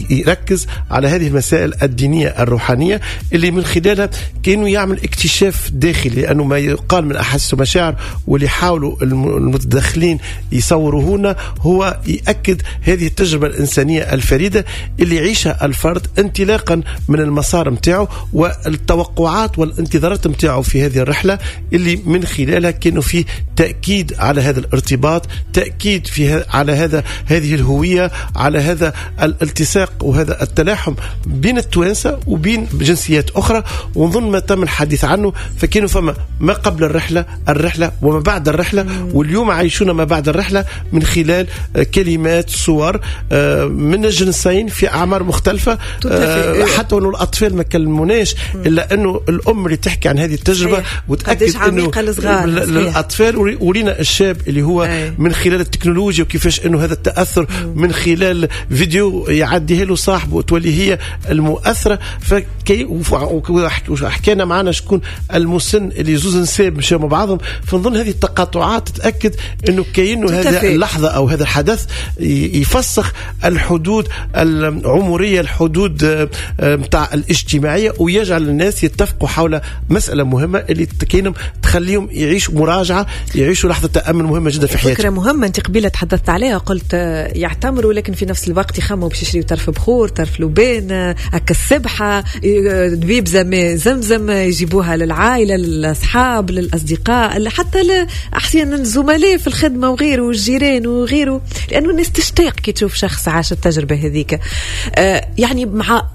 يركز على هذه المسائل الدينية الروحانية اللي من خلالها كأنه يعمل اكتشاف داخلي، لأنه ما يقال من أحاسيس ومشاعر واللي حاولوا المتدخلين يصوروه هنا هو يأكد هذه التجربة الإنسانية الفريدة اللي يعيشها الفرد انطلاقا من المسار متاعه والتوقعات والانتظارات متاعه في هذه الرحلة، اللي من خلالها كانوا فيه تأكيد على هذا الارتباط، تأكيد في على هذا هذه الهوية، على هذا الالتصاق وهذا التلاحم بين التوانسة وبين جنسيات أخرى. ونظن ما تم الحديث عنه فكانوا فما ما قبل الرحلة، الرحلة وما بعد الرحلة، مم. واليوم عايشون ما بعد الرحلة من خلال كلمات، صور من الجنسين في أعمار مختلفة، حتى أنه الأطفال ما كلموناش، إلا أنه الأم اللي تحكي عن هذه التجربة وتأكد أنه الأطفال، ورينا الشاب اللي هو أي. من خلال التكنولوجيا وكيفاش أنه هذا التأثر مم. من خلال فيديو يعديها له صاحبه وتولي هي المؤثرة. فكي وحكينا معنا شكون المسن اللي زوز نساب مشاو مع بعضهم، فنظن هذه التقاطعات تتأكد أنه كأنه هذا اللحظة أو هذا الحدث يفسخ الحدود العمرية، الحدود متاع الاجتماعية، ويجعل الناس يتفقوا حول مسألة مهمة اللي كأنهم تخليهم يعيشوا مراجعة، يعيشوا لحظة تأمل مهمة جدا في حياتهم. فكرة مهمة أنت قبيلة تحدثت عليها، قلت يعتمروا لكن في نفس الوقت يخموا باش يشريوا طرف بخور، طرف لبان، هكا السبحة، دبيب زمزم يجيبوها للعائلة، للأصحاب، للأصدقاء، حتى أحيانا الزملاء في الخدمة وغيره والجيران وغيره، لأنه الناس تشتاق كي تشوف شخص عاش التجربة هذيك. يعني مع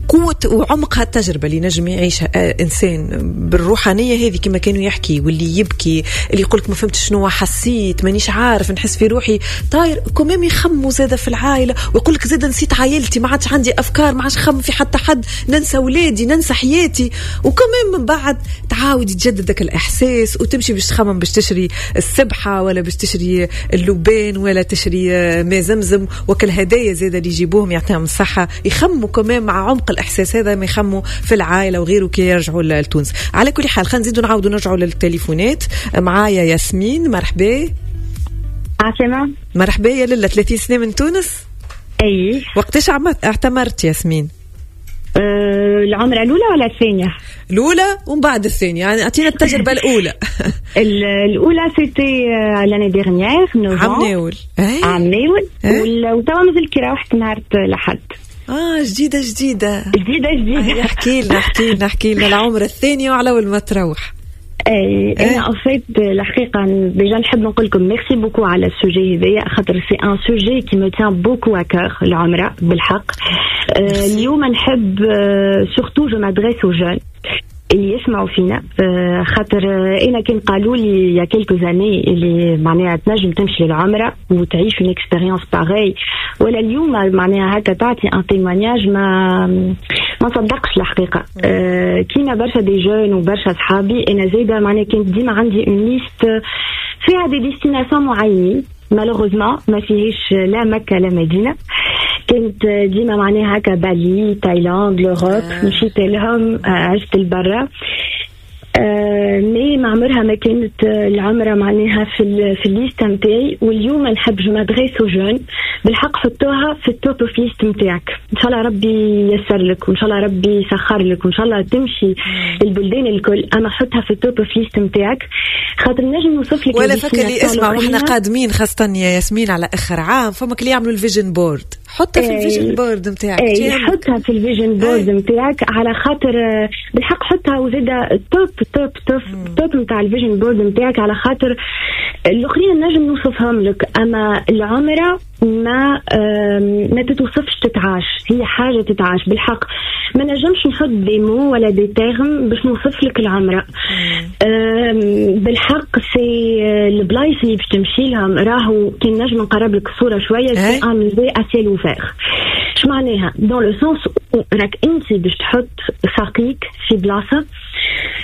قوة وعمق هالتجربة اللي نجم يعيشها إنسان بالروحانية هذه كما كانوا يحكي، واللي يبكي، اللي يقولك ما فهمت شنو حسيت، مانيش عارف، نحس في روحي طاير، كمام يخموا زادة في العائلة ويقولك زادة نسيت عائلتي، ما عادش عندي أفكار، ما عادش خم في حتى حد، ننسى ولادي، ننسى حياتي. وكمان من بعد تعاود يتجدد ذاك الإحساس وتمشي باش تخمم باش تشري السبحة ولا باش تشري اللبان ولا تشري ماء زمزم، وكل هدايا زادة اللي يجيبوهم يعطيهم الصحة، يخموا كمان مع عمق الإحساس هذا ما يخموا في العائلة وغيره كي يرجعوا لتونس. على كل حال خلينا نزيدوا نعاودوا نرجعوا للتليفونات. معايا ياسمين، مرحبا. عسلامة. مرحبا يا للا، ثلاثين سنة من تونس. اي. وقتاش اعتمرت ياسمين؟ أه العمرة الأولى ولا الثانية؟ الأولى ومن بعد الثانية، يعني أعطينا التجربة الأولى. الأولى c'était l'année dernière novembre. عام ناول. عام ناول وتوا مازال كي روحت نهار الأحد. اه جديدة جديدة جديدة جديدة. احكي لنا احكي لنا احكي لنا العمرة الثانية وعلى أول ما تروح. اي انا en fait الحقيقة déjà نحب نقول لكم merci beaucoup على ال sujet هذايا، خاطر c'est un sujet qui me tient beaucoup à cœur العمرة بالحق. اليوم نحب surtout je m'adresse aux jeunes اللي يسمعوا فينا، خاطر انا كان قالوا لي il y a quelques années اللي معناها تنجم تمشي للعمرة وتعيش une expérience pareille، ولا اليوم معناها هكا تعطي un témoignage ما ما صدقش الحقيقة. كيما برشا des jeunes وبرشا صحابي، انا زايدة معناها كانت ديما عندي une liste فيها des destinations معينين، malheureusement ما فيهش لا مكة لا مدينة. كانت ديما معناها هكا بالي، تايلاند، l'Europe، مشيت لهم، عشت البرا، mais ما عمرها ما كانت العمرة معناها في في ال liste نتاعي. واليوم نحب je m'adresse aux jeunes بالحق، حطوها في ال top of liste نتاعك، ان شاء الله ربي ييسر لك وان شاء الله ربي يسخر لك وان شاء الله تمشي البلدان الكل، اما حطها في ال top of liste نتاعك خاطر نجم نوصف لك. ولا فكر لي اسمع، واحنا قادمين خاصة يا ياسمين على اخر عام، فما اللي يعملوا ال vision board، حطها في ال vision board نتاعك. اي حطها في ال vision board نتاعك على خاطر بالحق حطها، وزاده top top top top نتاع ال vision board نتاعك، على خاطر الاخرين نجم نوصفهم لك، اما العمرة ما ما تتوصفش، تتعاش، هي حاجة تتعاش بالحق. ما نجمش نحط des mots ولا des termes باش نوصف لك العمرة بالحق. c'est البلايص اللي باش تمشي لهم راهو كي نجم نقرب لك الصورة شوية، c'est un musée à ciel ouvert. اش معناها؟ dans le sens راك انت باش تحط ساقيك في بلاصة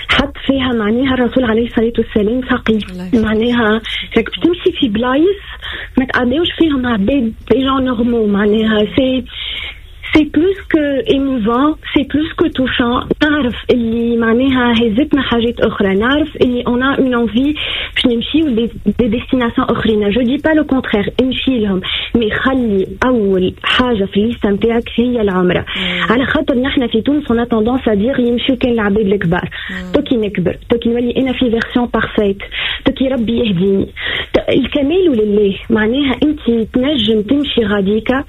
حط فيها معناها الرسول عليه الصلاة والسلام ساقي، معناها راك باش تمشي في بلايص ما تعديوش فيهم عباد des gens normaux، معناها c'est c'est plus que émouvant، c'est plus que touchant. نعرف اللي معناها هزتنا حاجات اخرى، نعرف اللي on a une envie باش نمشيو des destinations اخرين، je dis pas le contraire، امشي لهم، mais خلي اول حاجة في ال liste نتاعك هي العمرة. على خاطر نحن في تونس on a tendance à dire يمشيو كان العباد الكبار، تو كي نكبر تو كي نولي انا في version parfaite، تو كي ربي يهديني، الكمال لله. معناها انت تنجم تمشي غاديكا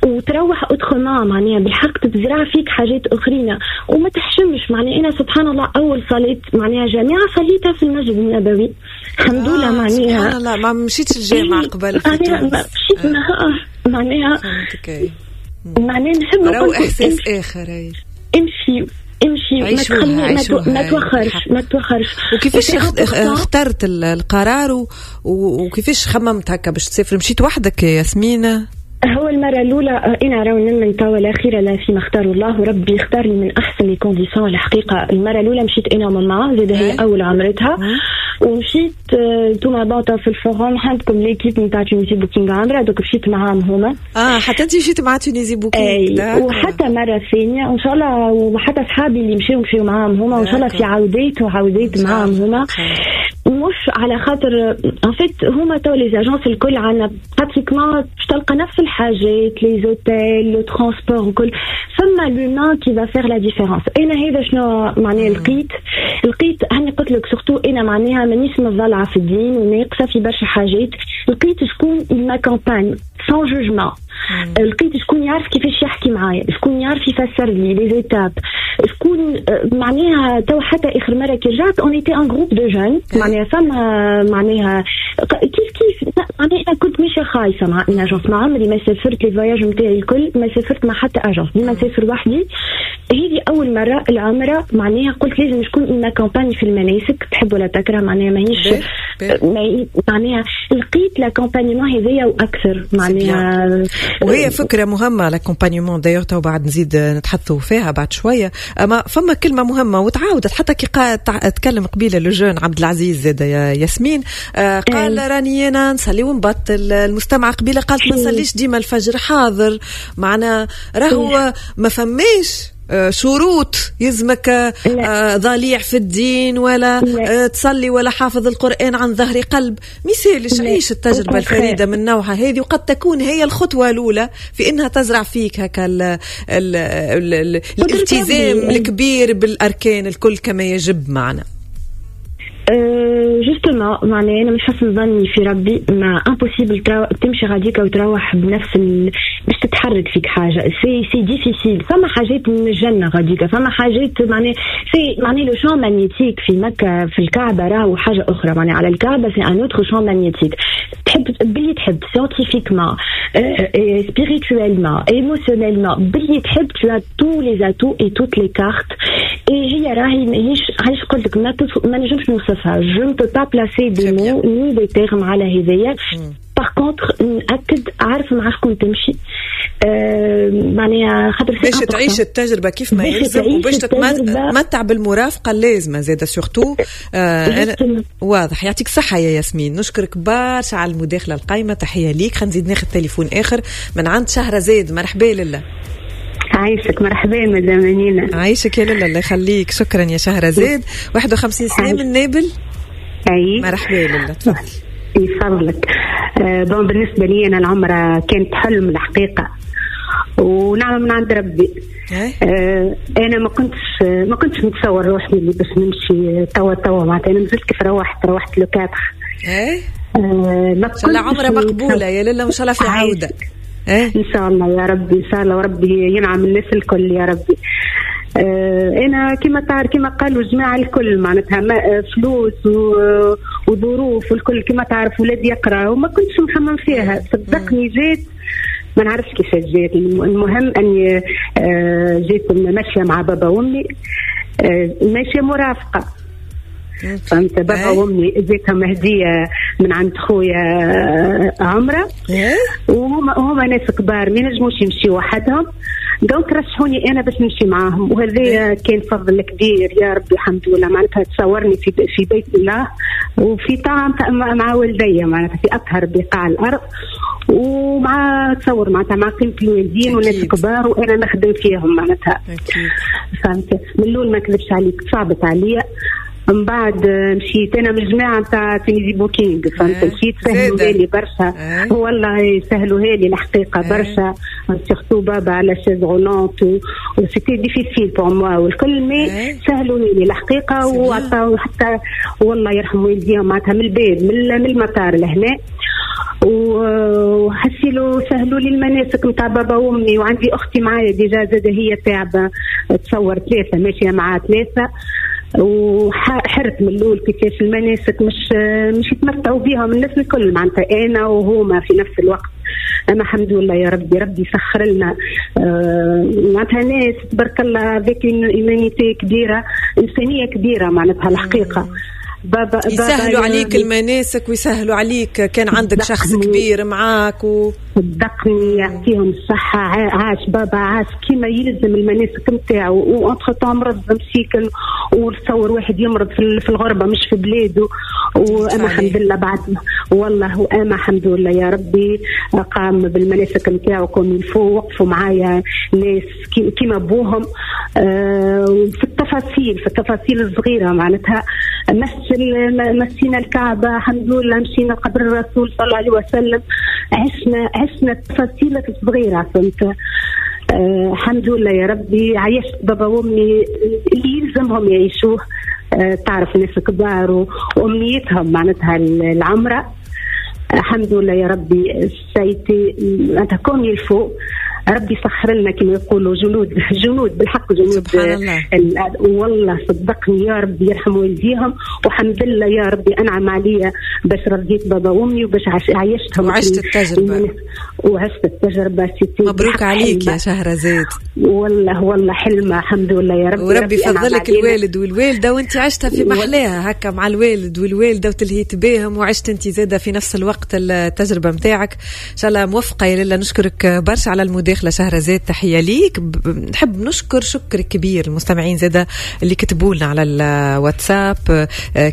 وتروح autrement، معناها بالحق تتزرع فيك حاجات اخرين وما تحشمش. معناها انا سبحان الله اول صلاة معناها جامعه صليتها في المسجد النبوي الحمد لله. آه معناها سبحان الله ما مشيتش الجامعة قبل في تونس، مشيت معناها معناها نحب نقول احساس اخر. امشي امشي، ما تخلي ما توخرش ما توخرش. وكيفاش اخترت القرار وكيفاش خممت هكا باش تسافر؟ مشيت وحدك يا ياسمين؟ هو المرة الأولى أنا راهو من توا الأخيرة لا فيما اختار الله، وربي اختارني من أحسن les conditions الحقيقة. المرة الأولى مشيت أنا وماما زاد هي أول عمرتها، ومشيت انتوما باطا في ال forum عندكم l'équipe نتاع Tunisie Booking عمرة، donc مشيت معاهم هما. اه حتى انت مشيت مع Tunisie Booking. وحتى مرة ثانية وإن شاء الله، وحتى صحابي اللي مشاو مشاو معاهم هما، وإن شاء الله في عودات وعودات معاهم هما. مش على خاطر en fait هما تو les agences الكل عندنا pratiquement باش تلقى نفس الحاجات، les hôtels، le transport وكل، فما l'humain qui va faire la différence. انا هذا شنو معناها لقيت لقيت هاني قلت لك surtout انا معناها مانيش مضلعه في الدين وناقصه في برشا حاجات، لقيت شكون m'accompagne sans jugement، لقيت شكون يعرف كيفاش يحكي معايا، شكون يعرف يفسر لي les étapes، شكون معناها تو حتى اخر مرة كي رجعت on était un groupe de jeunes، معناها فما معناها كيف كيف معناها انا كنت ماشية خايفة مع une agence، ما عمري ما سافرت les voyages نتاعي الكل ما سافرت مع حتى agence، ديما نسافر وحدي. هذه اول مرة العمرة معناها قلت لازم شكون m'accompagne في المناسك، تحب ولا تكره معناها ماهيش معناها لقيت l'accompagnement هذايا واكثر معناها. وهي فكرة مهمة l'accompagnement d'ailleurs، تو بعد نزيد نتحدثوا فيها بعد شوية. اما فما كلمة مهمة وتعاودت حتى كي تكلم قبيلة le jeune عبد العزيز زاد يا ياسمين، آه قال راني انا نصلي ونبطل. المستمعة قبيلة قالت ما نصليش ديما الفجر حاضر، معنا راهو ما فماش شروط يلزمك ضليع في الدين ولا لا. تصلي ولا حافظ القرآن عن ظهر قلب. مثالش عيش التجربة الفريدة من نوعها هذه، وقد تكون هي الخطوة الأولى في إنها تزرع فيك هكا ال ال ال الالتزام الكبير بالأركان الكل كما يجب معنا. justement معناها انا من حسن ظني في ربي ما impossible تمشي غاديك وتروح بنفس ال... باش تتحرك فيك حاجة c'est c'est difficile. فما حاجات من الجنة غاديك، فما حاجات معناها c'est معناها le champ magnétique في مكة في الكعبة راهو حاجة اخرى، معناها على الكعبة c'est un autre champ magnétique. تحب باللي تحب scientifiquement spirituellement émotionnellement باللي تحب tu as tous les atouts et toutes les cartes. et هي راهي ماهيش علاش قلت لك ما, ما نجمش نوصفها، je ne peux pas placer des mots ni des termes على هذايا. par contre نأكد عارف مع شكون تمشي، أه معناها خاطر باش تعيش التجربة كيف ما يلزم وباش تتمتع بالمرافقه اللازمة زاده surtout. آه واضح. يعطيك الصحة يا ياسمين، نشكرك برشا على المداخلة القايمة، تحية ليك. خلينا نزيد ناخذ تليفون اخر من عند شهرزاد. مرحبا لله. عايشك، مرحبا مدام نينا. عايشك يا لاله، الله يخليك، شكرا يا شهرزاد. واحد وخمسين سنة من نابل. اي مرحبا لاله، تفضلي. يفضلك. أه bon بالنسبة لي انا العمرة كانت حلم الحقيقة ونعمه من عند ربي. أه انا ما كنتش ما كنتش متصور روحي اللي باش نمشي توا توا معناتها انا مازلت كيف روحت روحت le quatre. اي أه ما كنتش. عمره مقبولة يا لاله، وان شاء الله في عوده. إيه؟ إن شاء الله يا ربي، إن شاء الله وربي ينعم الناس الكل يا ربي. آه أنا كما تعرف كما قالوا جماعة الكل معناتها فلوس وظروف والكل كما تعرف ولادي يقرأ وما كنتش مخمم فيها. صدقني جيت ما نعرفش كيفاش جيت، المهم أني آه جيت ماشية مع بابا وأمي، آه ماشية مرافقة فهمت. بابا وامي جيتهم هديه من عند خويا عمره، وهما هما ناس كبار ما ينجموش يمشيو وحدهم، donc رشحوني انا باش نمشي معاهم، وهذا كان فضل كبير يا ربي الحمد لله. معناتها تصورني في في بيت الله وفي طعام مع والدي معناتها في اطهر بقاع الارض، ومع تصور معناتها مع قيمة الوالدين وناس كبار وانا نخدم فيهم معناتها. فهمت. من الاول ما كذبش عليك صعبت عليا، من بعد مشيت انا من الجماعة نتاع Tunisie Booking فهمت، مشيت سهلوها لي برشا والله سهلوها لي الحقيقة برشا، surtout بابا على chaise roulante و c'était difficile pour moi والكل، mais سهلوها لي الحقيقة وعطاو حتى والله يرحم والديهم معناتها من الباب من المطار لهنا، وحسيلو سهلوا لي المناسك نتاع بابا وامي، وعندي اختي معايا déjà زاده هي تعبه تصور ثلاثة ماشية مع ثلاثة، وحرت من الاول كيفاش المناسك مش مش يتمتعوا بها من الناس الكل معناتها انا وهما في نفس الوقت. اما الحمد لله يا ربي ربي سخر لنا معناتها ناس تبارك الله avec humanité كبيرة، انسانيه كبيرة معناتها الحقيقة. بابا يسهلوا عليك المناسك ويسهلوا عليك كان عندك شخص كبير معاك و... صدقني يعطيهم الصحة. عاش بابا عاش كيما يلزم المناسك نتاعو، و entre-temps مرض مسيكن وتصور واحد يمرض في الغربة مش في بلاده، وانا الحمد لله بعد والله وانا الحمد لله يا ربي قام بالمناسك نتاعو comme il faut، وقفوا معايا ناس كيما بوهم آه في التفاصيل في التفاصيل الصغيرة معناتها. مسينا الكعبة الحمد لله، مشينا قبر الرسول صلى الله عليه وسلم، عشنا عشنا التفاصيل الصغيرة فهمت. آه الحمد لله يا ربي عيشت بابا وامي اللي يلزمهم يعيشوه. آه تعرف ناس كبار وامنيتهم معناتها العمرة. الحمد لله يا ربي c'était معناتها comme il faut، ربي سخر لنا كما يقولوا جنود جنود بالحق جنود سبحان الله. والله صدقني يا ربي يرحم والديهم، والحمد لله يا ربي انعم عليا باش رضيت بابا وامي وباش عيشتهم وعشت التجربة وعشت التجربة. مبروك عليك يا شهرزاد والله والله حلمه الحمد لله يا ربي، وربي فضلك الوالد والوالدة وانت عشتها في محلاها هكا مع الوالد والوالدة وتلهيت بهم وعشت انت زاده في نفس الوقت التجربة نتاعك. ان شاء الله موفقة يا لاله. نشكرك برشا على المداخلة. المداخلة شهرزاد، تحية ليك. نحب نشكر شكر كبير المستمعين زاده اللي كتبوا لنا على الواتساب،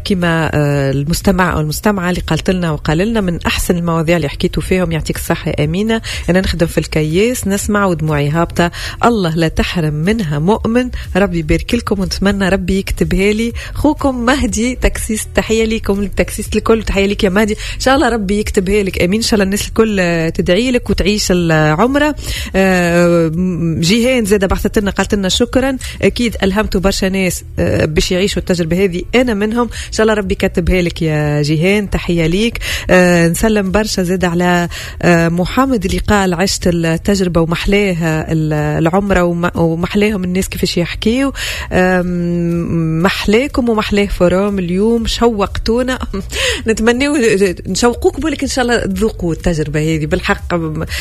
كما المستمع او المستمعة اللي قالت لنا وقال لنا من احسن المواضيع اللي حكيتوا فيهم، يعطيك الصحة يا امينه، انا نخدم في الكياس نسمع ودموعي هابطة، الله لا تحرم منها مؤمن، ربي يبارك لكم ونتمنى ربي يكتبها لي. خوكم مهدي taxiste، تحية ليكم ال taxistes الكل، تحية لك يا مهدي، ان شاء الله ربي يكتبها لك امين، ان شاء الله الناس الكل تدعي لك وتعيش العمرة. جيهان زاده بعثت لنا قالت لنا شكرا، اكيد الهمتوا برشا ناس باش يعيشوا التجربة هذه، انا منهم، ان شاء الله ربي كتبها لك يا جيهان، تحية ليك. نسلم برشا زاد على محمد اللي قال عشت التجربة ومحلاها العمرة ومحلاهم الناس كيفاش يحكيوا، محلاكم ومحلاه forum اليوم، شوقتونا. نتمنوا نشوقوكم ولكن ان شاء الله تذوقوا التجربة هذه بالحق،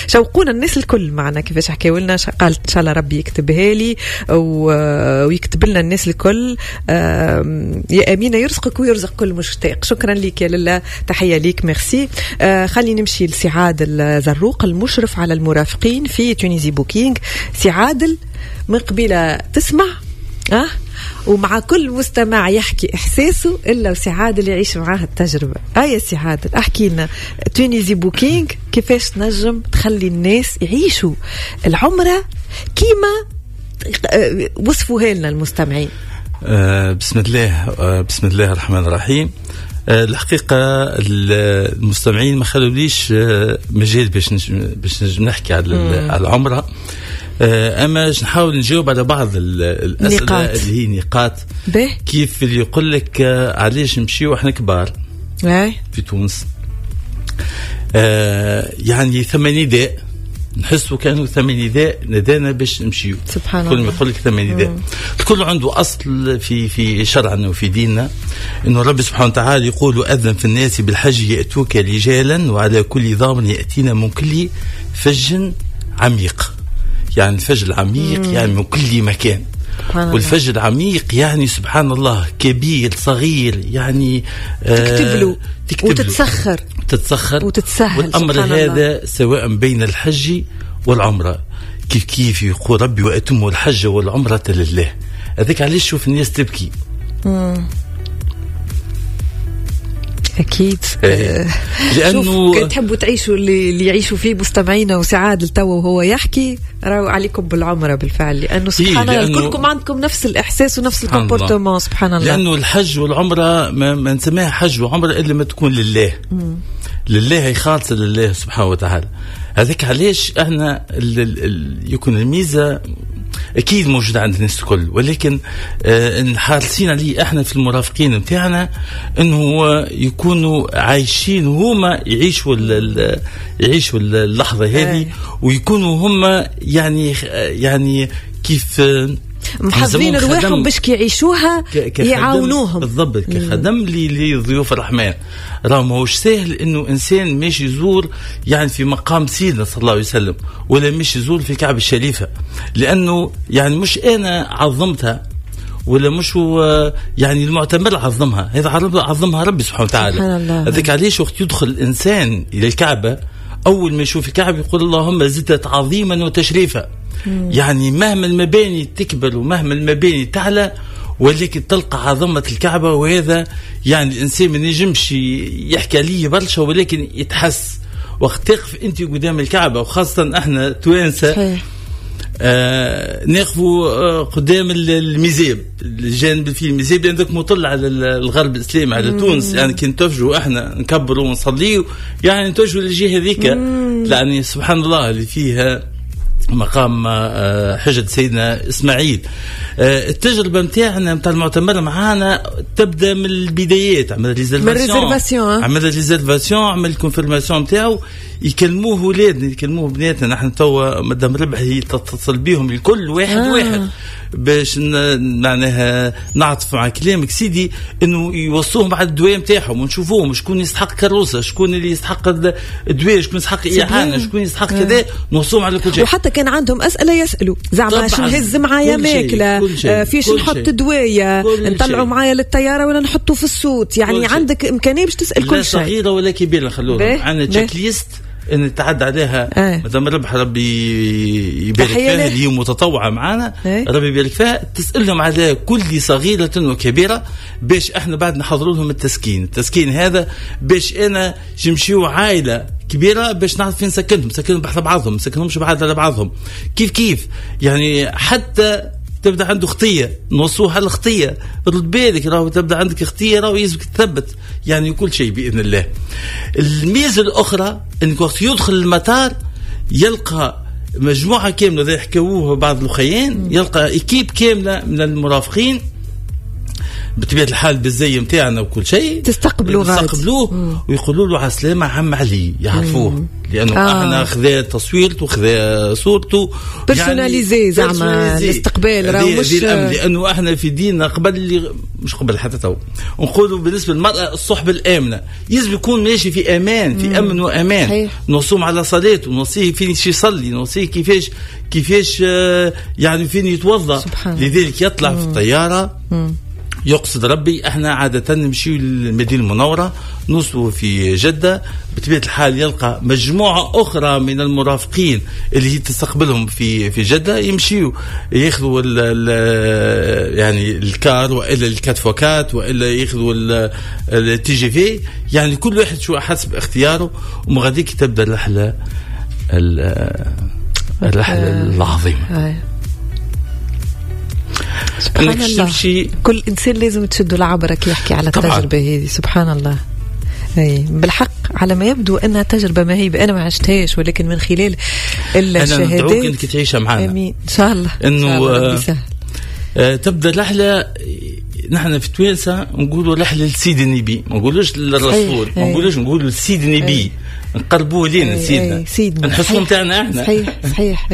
شوقونا الناس الكل معنا كيفاش حكاوا لنا، قالت ان شاء الله ربي يكتبها لي ويكتب لنا الناس الكل. يا امينه يرزقك ويرزق كل مشتاق، شكرا لك يا لاله، تحية ليك، ميرسي. خلي نمشي لسي عادل زروق المشرف على المرافقين في Tunisie Booking. سي عادل من قبيلة تسمع أه؟ ومع كل مستمع يحكي إحساسه إلا وسي عادل يعيش معاه التجربة. آه يا سي عادل أحكي لنا Tunisie Booking كيفاش تنجم تخلي الناس يعيشوا العمرة كيما وصفوها لنا المستمعين. آه بسم الله، آه بسم الله الرحمن الرحيم. آه الحقيقة المستمعين ما خلوليش آه مجال باش باش نجم نحكي على على العمرة، اما نحاول نجاوب على بعض الاسئلة نقاط. اللي هي نقاط كيف اللي يقول لك علاش نمشيو احنا كبار في تونس، آه يعني ثم نداء نحسوا كانوا ثم نداء ندانا باش نمشيو. سبحان الله، كل ما يقول لك ثم نداء، الكل عنده اصل في في شرعنا وفي ديننا، انه ربي سبحانه وتعالى يقول اذن في الناس بالحج ياتوك رجالا وعلى كل ضامر ياتينا من كل فج عميق. يعني الفج العميق مم. يعني من كل مكان، والفج العميق يعني سبحان الله كبير صغير، يعني تكتب له وتتسخر تتسخر وتتسهل. والأمر هذا سواء بين الحج والعمرة كيف كيف يقول ربي وأتموا الحج والعمرة لله. هذاك علاش شوف الناس تبكي. مم. أكيد، إيه. لأنه تحبوا تعيشوا اللي, اللي يعيشوا فيه مستمعينا وسي عادل توا وهو يحكي، راهو عليكم بالعمرة بالفعل، لأنه سبحان الله إيه كلكم عندكم نفس الإحساس ونفس ال comportement. سبحان الله، لأنه الحج والعمرة ما, ما نسميها حج وعمرة إلا ما تكون لله. مم. لله هي خالصة لله سبحانه وتعالى. هذاك علاش احنا ال ال ال يكون الميزة اكيد موجودة عند الناس الكل، ولكن آه حارسين عليه احنا في المرافقين نتاعنا انه يكونوا عايشين هما يعيشوا يعيشوا اللحظة هذه، ويكونوا هما يعني يعني كيف محافظين رواحهم باش كيعيشوها يعاونوهم بالضبط كخدم لضيوف الرحمن. راه ماهوش سهل انه انسان ماشي يزور يعني في مقام سيدنا صلى الله عليه وسلم، ولا ماشي يزور في الكعبة الشريفة، لانه يعني مش انا عظمتها ولا مش هو يعني المعتمر عظمها، هذا عظمها ربي سبحانه وتعالى. هذاك علاش وقت يدخل الانسان الى الكعبة اول ما يشوف الكعبة يقول اللهم زدت عظيما وتشريفا. مم. يعني مهما المباني تكبر ومهما المباني تعلى، ولكن تلقى عظمة الكعبة. وهذا يعني الإنسان ما ينجمش يحكي عليه برشا، ولكن يتحس وقت تقف أنت قدام الكعبة، وخاصة احنا توانسة آه نقفوا آه قدام الميزاب، الجانب فيه الميزاب لأنك مطل على الغرب الإسلامي على مم. تونس، يعني كي نتوجهوا احنا نكبروا ونصليوا يعني نتوجهوا للجهة هذيك، يعني سبحان الله اللي فيها مقام حجة سيدنا إسماعيل. التجربة متاعنا متاع المعتمر معانا تبدأ من البدايات، عمل réservation، عمل réservation، عمل confirmation متاعو، يكلموه ولادنا يكلموه بناتنا. نحن توا مدام ربح هي تتصل بيهم الكل واحد آه. واحد باش معناها نعطف مع كلامك سيدي انه يوصوهم على الدواء نتاعهم ونشوفوهم شكون يستحق كروسه، شكون اللي يستحق الدواء، شكون يستحق اعانه، شكون يستحق كذا، نوصوهم على كل شيء. وحتى كان عندهم اسئلة يسالوا زعما شنو نهز معايا ماكله، فيش نحط دوايه، نطلعوا معايا للطياره ولا نحطه في ال soute، يعني عندك امكانية باش تسال كل شيء، لا صغيرة ولا كبيرة. خلوهم عندنا check-list ان تعدى عليها مدام ربح ربي يبارك فيها، اللي هي متطوعه معنا، ربي يبارك فيها، تسالهم على كل صغيرة وكبيره باش احنا بعد نحضروا لهم التسكين. التسكين هذا باش انا نمشيو عائلة كبيرة باش نعرف فين سكنتهم، سكنهم بحذا بعضهم، سكنهمش بعاد على بعضهم، كيف كيف يعني. حتى تبدا عنده خطيه نوصوها الخطية، رد بالك راهو تبدا عندك خطيه راهو يلزمك تثبت يعني كل شيء باذن الله. الميزة الاخرى انك وقت يدخل المطار يلقى مجموعة كاملة زي حكاووه بعض الاخيين، يلقى équipe كاملة من المرافقين بطبيعة الحال بالزي نتاعنا وكل شيء، تستقبلوه تستقبلوه ويقولوا له على السلامة عم علي، يعرفوه مم. لانه آه. احنا خذا تصويرته وخذا صورته personnalisé، يعني زعما الاستقبال راهو مش لانه احنا في ديننا قبل اللي مش قبل حتى تو نقولوا بالنسبة للمراة الصحبة الامنة، يجب يكون ماشي في امان، في امن وامان، نوصوم على صلاته، نوصيه فين يصلي، نوصيه كيفاش كيفاش يعني فين يتوضا. لذلك يطلع مم. في الطيارة مم. يقصد ربي. احنا عادة نمشيو للمدينة المنورة، نوصلوا في جدة، بطبيعة الحال يلقى مجموعة أخرى من المرافقين اللي هي تستقبلهم في في جدة، يمشيو ياخذوا يعني ال car وإلا ال quatre fois quatre وإلا ياخذوا ال TGV، يعني كل واحد شو حسب اختياره. ومغاديك تبدأ الرحلة الرحلة العظيمة. سبحان الله، كل إنسان لازم تشد العبرة كي يحكي على التجربة هذه. سبحان الله. أي بالحق على ما يبدو أنها تجربة مهيبة، أنا ما عشتهاش ولكن من خلال الشهادات أنا ندعوك أنك تعيشها معنا. آمين إن شاء الله. إنه آه تبدأ رحلة. نحن في توانسة نقولوا رحلة لسيد النبي، ما نقولوش للرسول، ما نقولوش، نقولوا لسيد النبي، نقربوه لينا سيدنا، سيدنا نحسوا نتاعنا احنا. صحيح صحيح.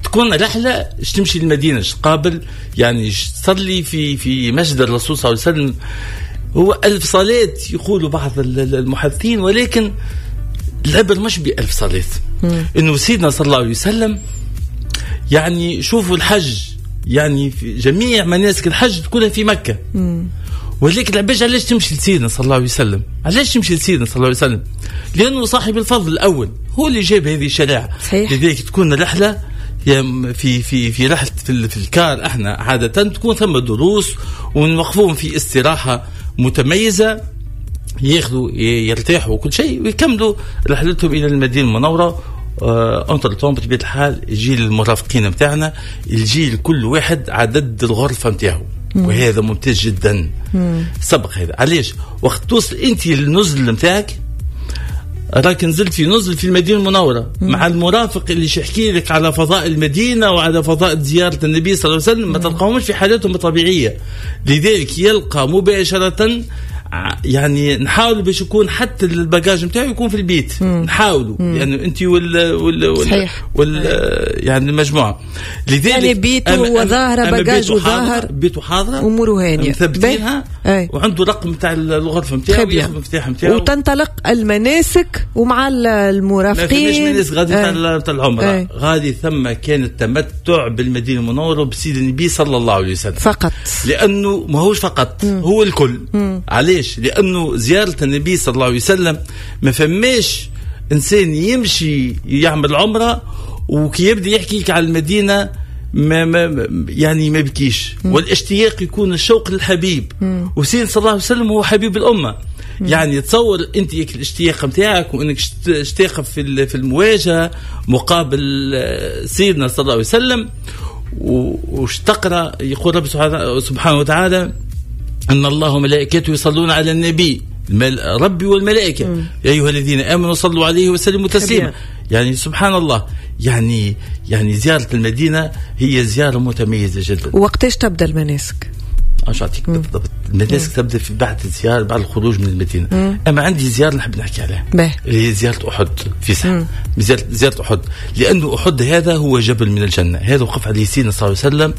تكون رحلة تمشي للمدينة، تقابل يعني تصلي في في مسجد الرسول صلى الله عليه وسلم. هو ألف صلاة يقولوا بعض المحدثين، ولكن العبر مش بألف صلاة. إنه سيدنا صلى الله عليه وسلم يعني شوفوا الحج، يعني في جميع مناسك الحج تكون في مكة. مم. ولكن العباش علاش تمشي لسيدنا صلى الله عليه وسلم؟ علاش تمشي لسيدنا صلى الله عليه وسلم؟ لأنه صاحب الفضل الأول، هو اللي جاب هذه الشريعة. لذلك تكون رحلة في في في رحلة في, في الكار احنا عادة تكون ثم دروس ونوقفوهم في استراحة متميزة، ياخذوا يرتاحوا وكل شيء ويكملوا رحلتهم إلى المدينة المنورة. entre-temps بطبيعة الحال الجيل المرافقين نتاعنا، الجيل كل واحد عدد الغرفة نتاعو، وهذا ممتاز جدا. مم. سبق هذا علاش وقت توصل انت للنزل نتاعك، راك نزلت في نزل في المدينة المنورة مم. مع المرافق اللي يحكي لك على فضاء المدينة وعلى فضاء زيارة النبي صلى الله عليه وسلم، ما تلقاهمش في حالاتهم الطبيعية. لذلك يلقى مباشرة، يعني نحاول باش يكون حتى ال bagage نتاعو يكون في البيت، نحاولوا لانه يعني انت وال وال وال, وال يعني المجموعة. لذلك يعني بيته وظاهره bagage وظاهر بيته حاضره، اموره هانيه مثبتينها، وعنده رقم نتاع الغرفة نتاعو وياخذ المفتاح نتاعو، وتنطلق المناسك ومع المرافقين. ما فماش مناسك غادي تاع العمرة، غادي ثم كان التمتع بالمدينة المنورة بسيد النبي صلى الله عليه وسلم فقط، لانه ماهوش فقط مم. هو الكل. علاش؟ لأنه زيارة النبي صلى الله عليه وسلم ما فماش إنسان يمشي يعمل عمرة وكي يبدأ يحكي لك على المدينة ما ما يعني ما بكيش، والاشتياق يكون الشوق للحبيب، وسيدنا صلى الله عليه وسلم هو حبيب الأمة. مم. يعني تصور أنت الاشتياق متاعك وأنك تشتاق في في المواجهة مقابل سيدنا صلى الله عليه وسلم، وش تقرأ يقول رب سبحانه وتعالى أن الله وملائكته يصلون على النبي، ربي والملائكة، مم. يا أيها الذين آمنوا صلوا عليه وسلموا تسليما. يعني سبحان الله، يعني يعني زيارة المدينة هي زيارة متميزة جدا. وقتاش تبدأ المناسك؟ اش اعطيك بالضبط؟ المناسك تبدا في بعد الزيارة، بعد الخروج من المدينة. مم. اما عندي زيارة نحب نحكي عليها، اللي هي زيارة احد في ساعة. زيارة زيارة احد، لانه احد هذا هو جبل من الجنة، هذا وقف عليه سيدنا صلى الله عليه وسلم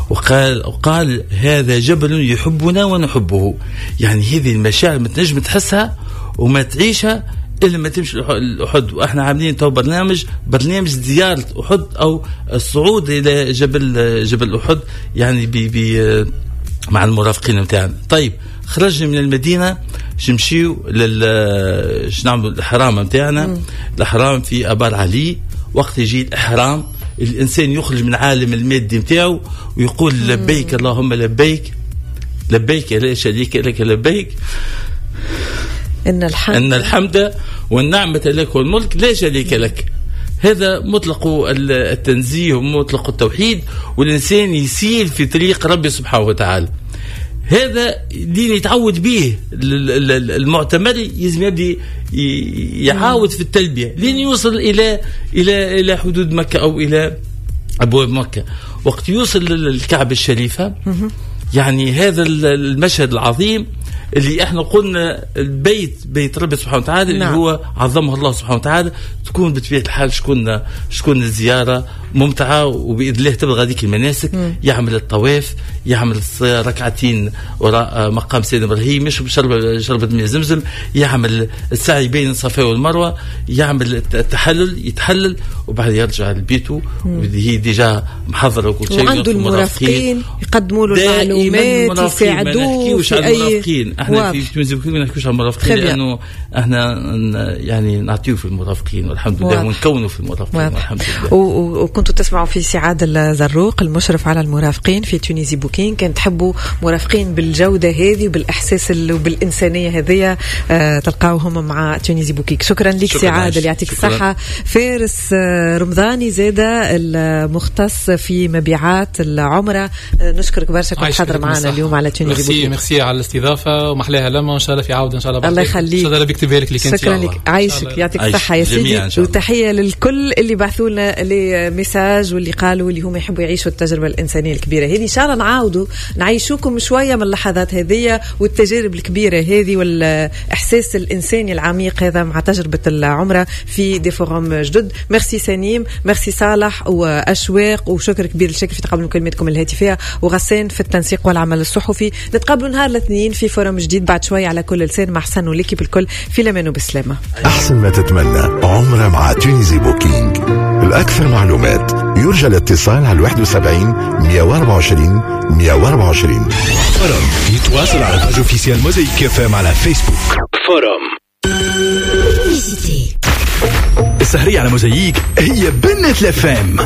وقال وقال هذا جبل يحبنا ونحبه. يعني هذه المشاعر ما تنجم تحسها وما تعيشها إلا ما تمشي لأحد. وإحنا عاملين تو برنامج برنامج زيارة أحد أو الصعود إلى جبل جبل أحد، يعني بي بي مع المرافقين نتاعنا. طيب خرجنا من المدينة نمشيو لل نعملوا الاحرام نتاعنا، الاحرام في ابار علي. وقت يجي الاحرام الانسان يخرج من عالم المادي نتاعو ويقول لبيك اللهم لبيك، لبيك لا شريك لك لبيك، ان الحمد ان الحمد والنعمة لك والملك لا شريك لك. هذا مطلق التنزيه ومطلق التوحيد، والإنسان يسير في طريق ربي سبحانه وتعالى. هذا دين يتعود به المعتمر، يلزم يبدي يعاود في التلبية لين يوصل إلى إلى إلى حدود مكة أو إلى أبواب مكة. وقت يوصل للكعبة الشريفة، يعني هذا المشهد العظيم اللي احنا قلنا البيت بيت ربي سبحانه وتعالى، اللي نعم. هو عظمه الله سبحانه وتعالى، تكون بطبيعة الحال شكون شكون الزيارة ممتعة، وباذن الله تبلغ هذيك المناسك. مم. يعمل الطواف، يعمل ركعتين وراء مقام سيدنا ابراهيم، يشرب شربة شربة ماء زمزم، يعمل السعي بين الصفا والمروة، يعمل التحلل، يتحلل، وبعد يرجع لبيته وهي déjà محضرة وكل شيء. وعنده المرافقين يقدموا له المعلومات، يساعدوه في اي. احنا في Tunisie Booking ما نحكيوش على المرافقين، لانه احنا يعني نعطيو في المرافقين والحمد لله، ونكونوا في المرافقين والحمد لله. وكنتوا تسمعوا في سي عادل زروق المشرف على المرافقين في Tunisie Booking. كان تحبوا مرافقين بالجودة هذه وبالاحساس وبالانسانيه هذه، آه تلقاوهم مع Tunisie Booking. شكرا لك سي عادل، يعطيك الصحة. فارس رمضاني زاده المختص في مبيعات العمرة، نشكرك برشا كنت حاضر معنا اليوم على Tunisie Booking. merci على الاستضافة ومحلاها لما، وان شاء الله في عوده ان شاء الله. الله يخليك، ان شاء الله ربي يكتبها لك. شكرا لك، عايشك، يعطيك الصحة يا سيدي. وتحية للكل اللي بعثوا لنا les messages واللي قالوا اللي هم يحبوا يعيشوا التجربة الانسانية الكبيرة هذه. ان شاء الله نعاودوا نعيشوكم شوية من اللحظات هذه والتجارب الكبيرة هذه والاحساس الانساني العميق هذا مع تجربه العمرة في des forums جدد. ميرسي سليم، ميرسي صالح واشواق، وشكر كبير لشكل في تقبل مكالمتكم الهاتفية، وغسان في التنسيق والعمل الصحفي. نتقابلوا نهار الاثنين في forum جديد بعد شوي على كل لسان مع حسن و l'équipe الكل. في لمن وبسلامة. أحسن ما تتمنى عمرة مع Tunisie Booking. الأكثر معلومات يرجى الاتصال على واحد وسبعين مئة وأربعة وعشرين مئة وأربعة وعشرين. forum يتواصل على page officielle Mosaïque FM على فيسبوك. forum السهرية على موزايك هي بنة ال FM.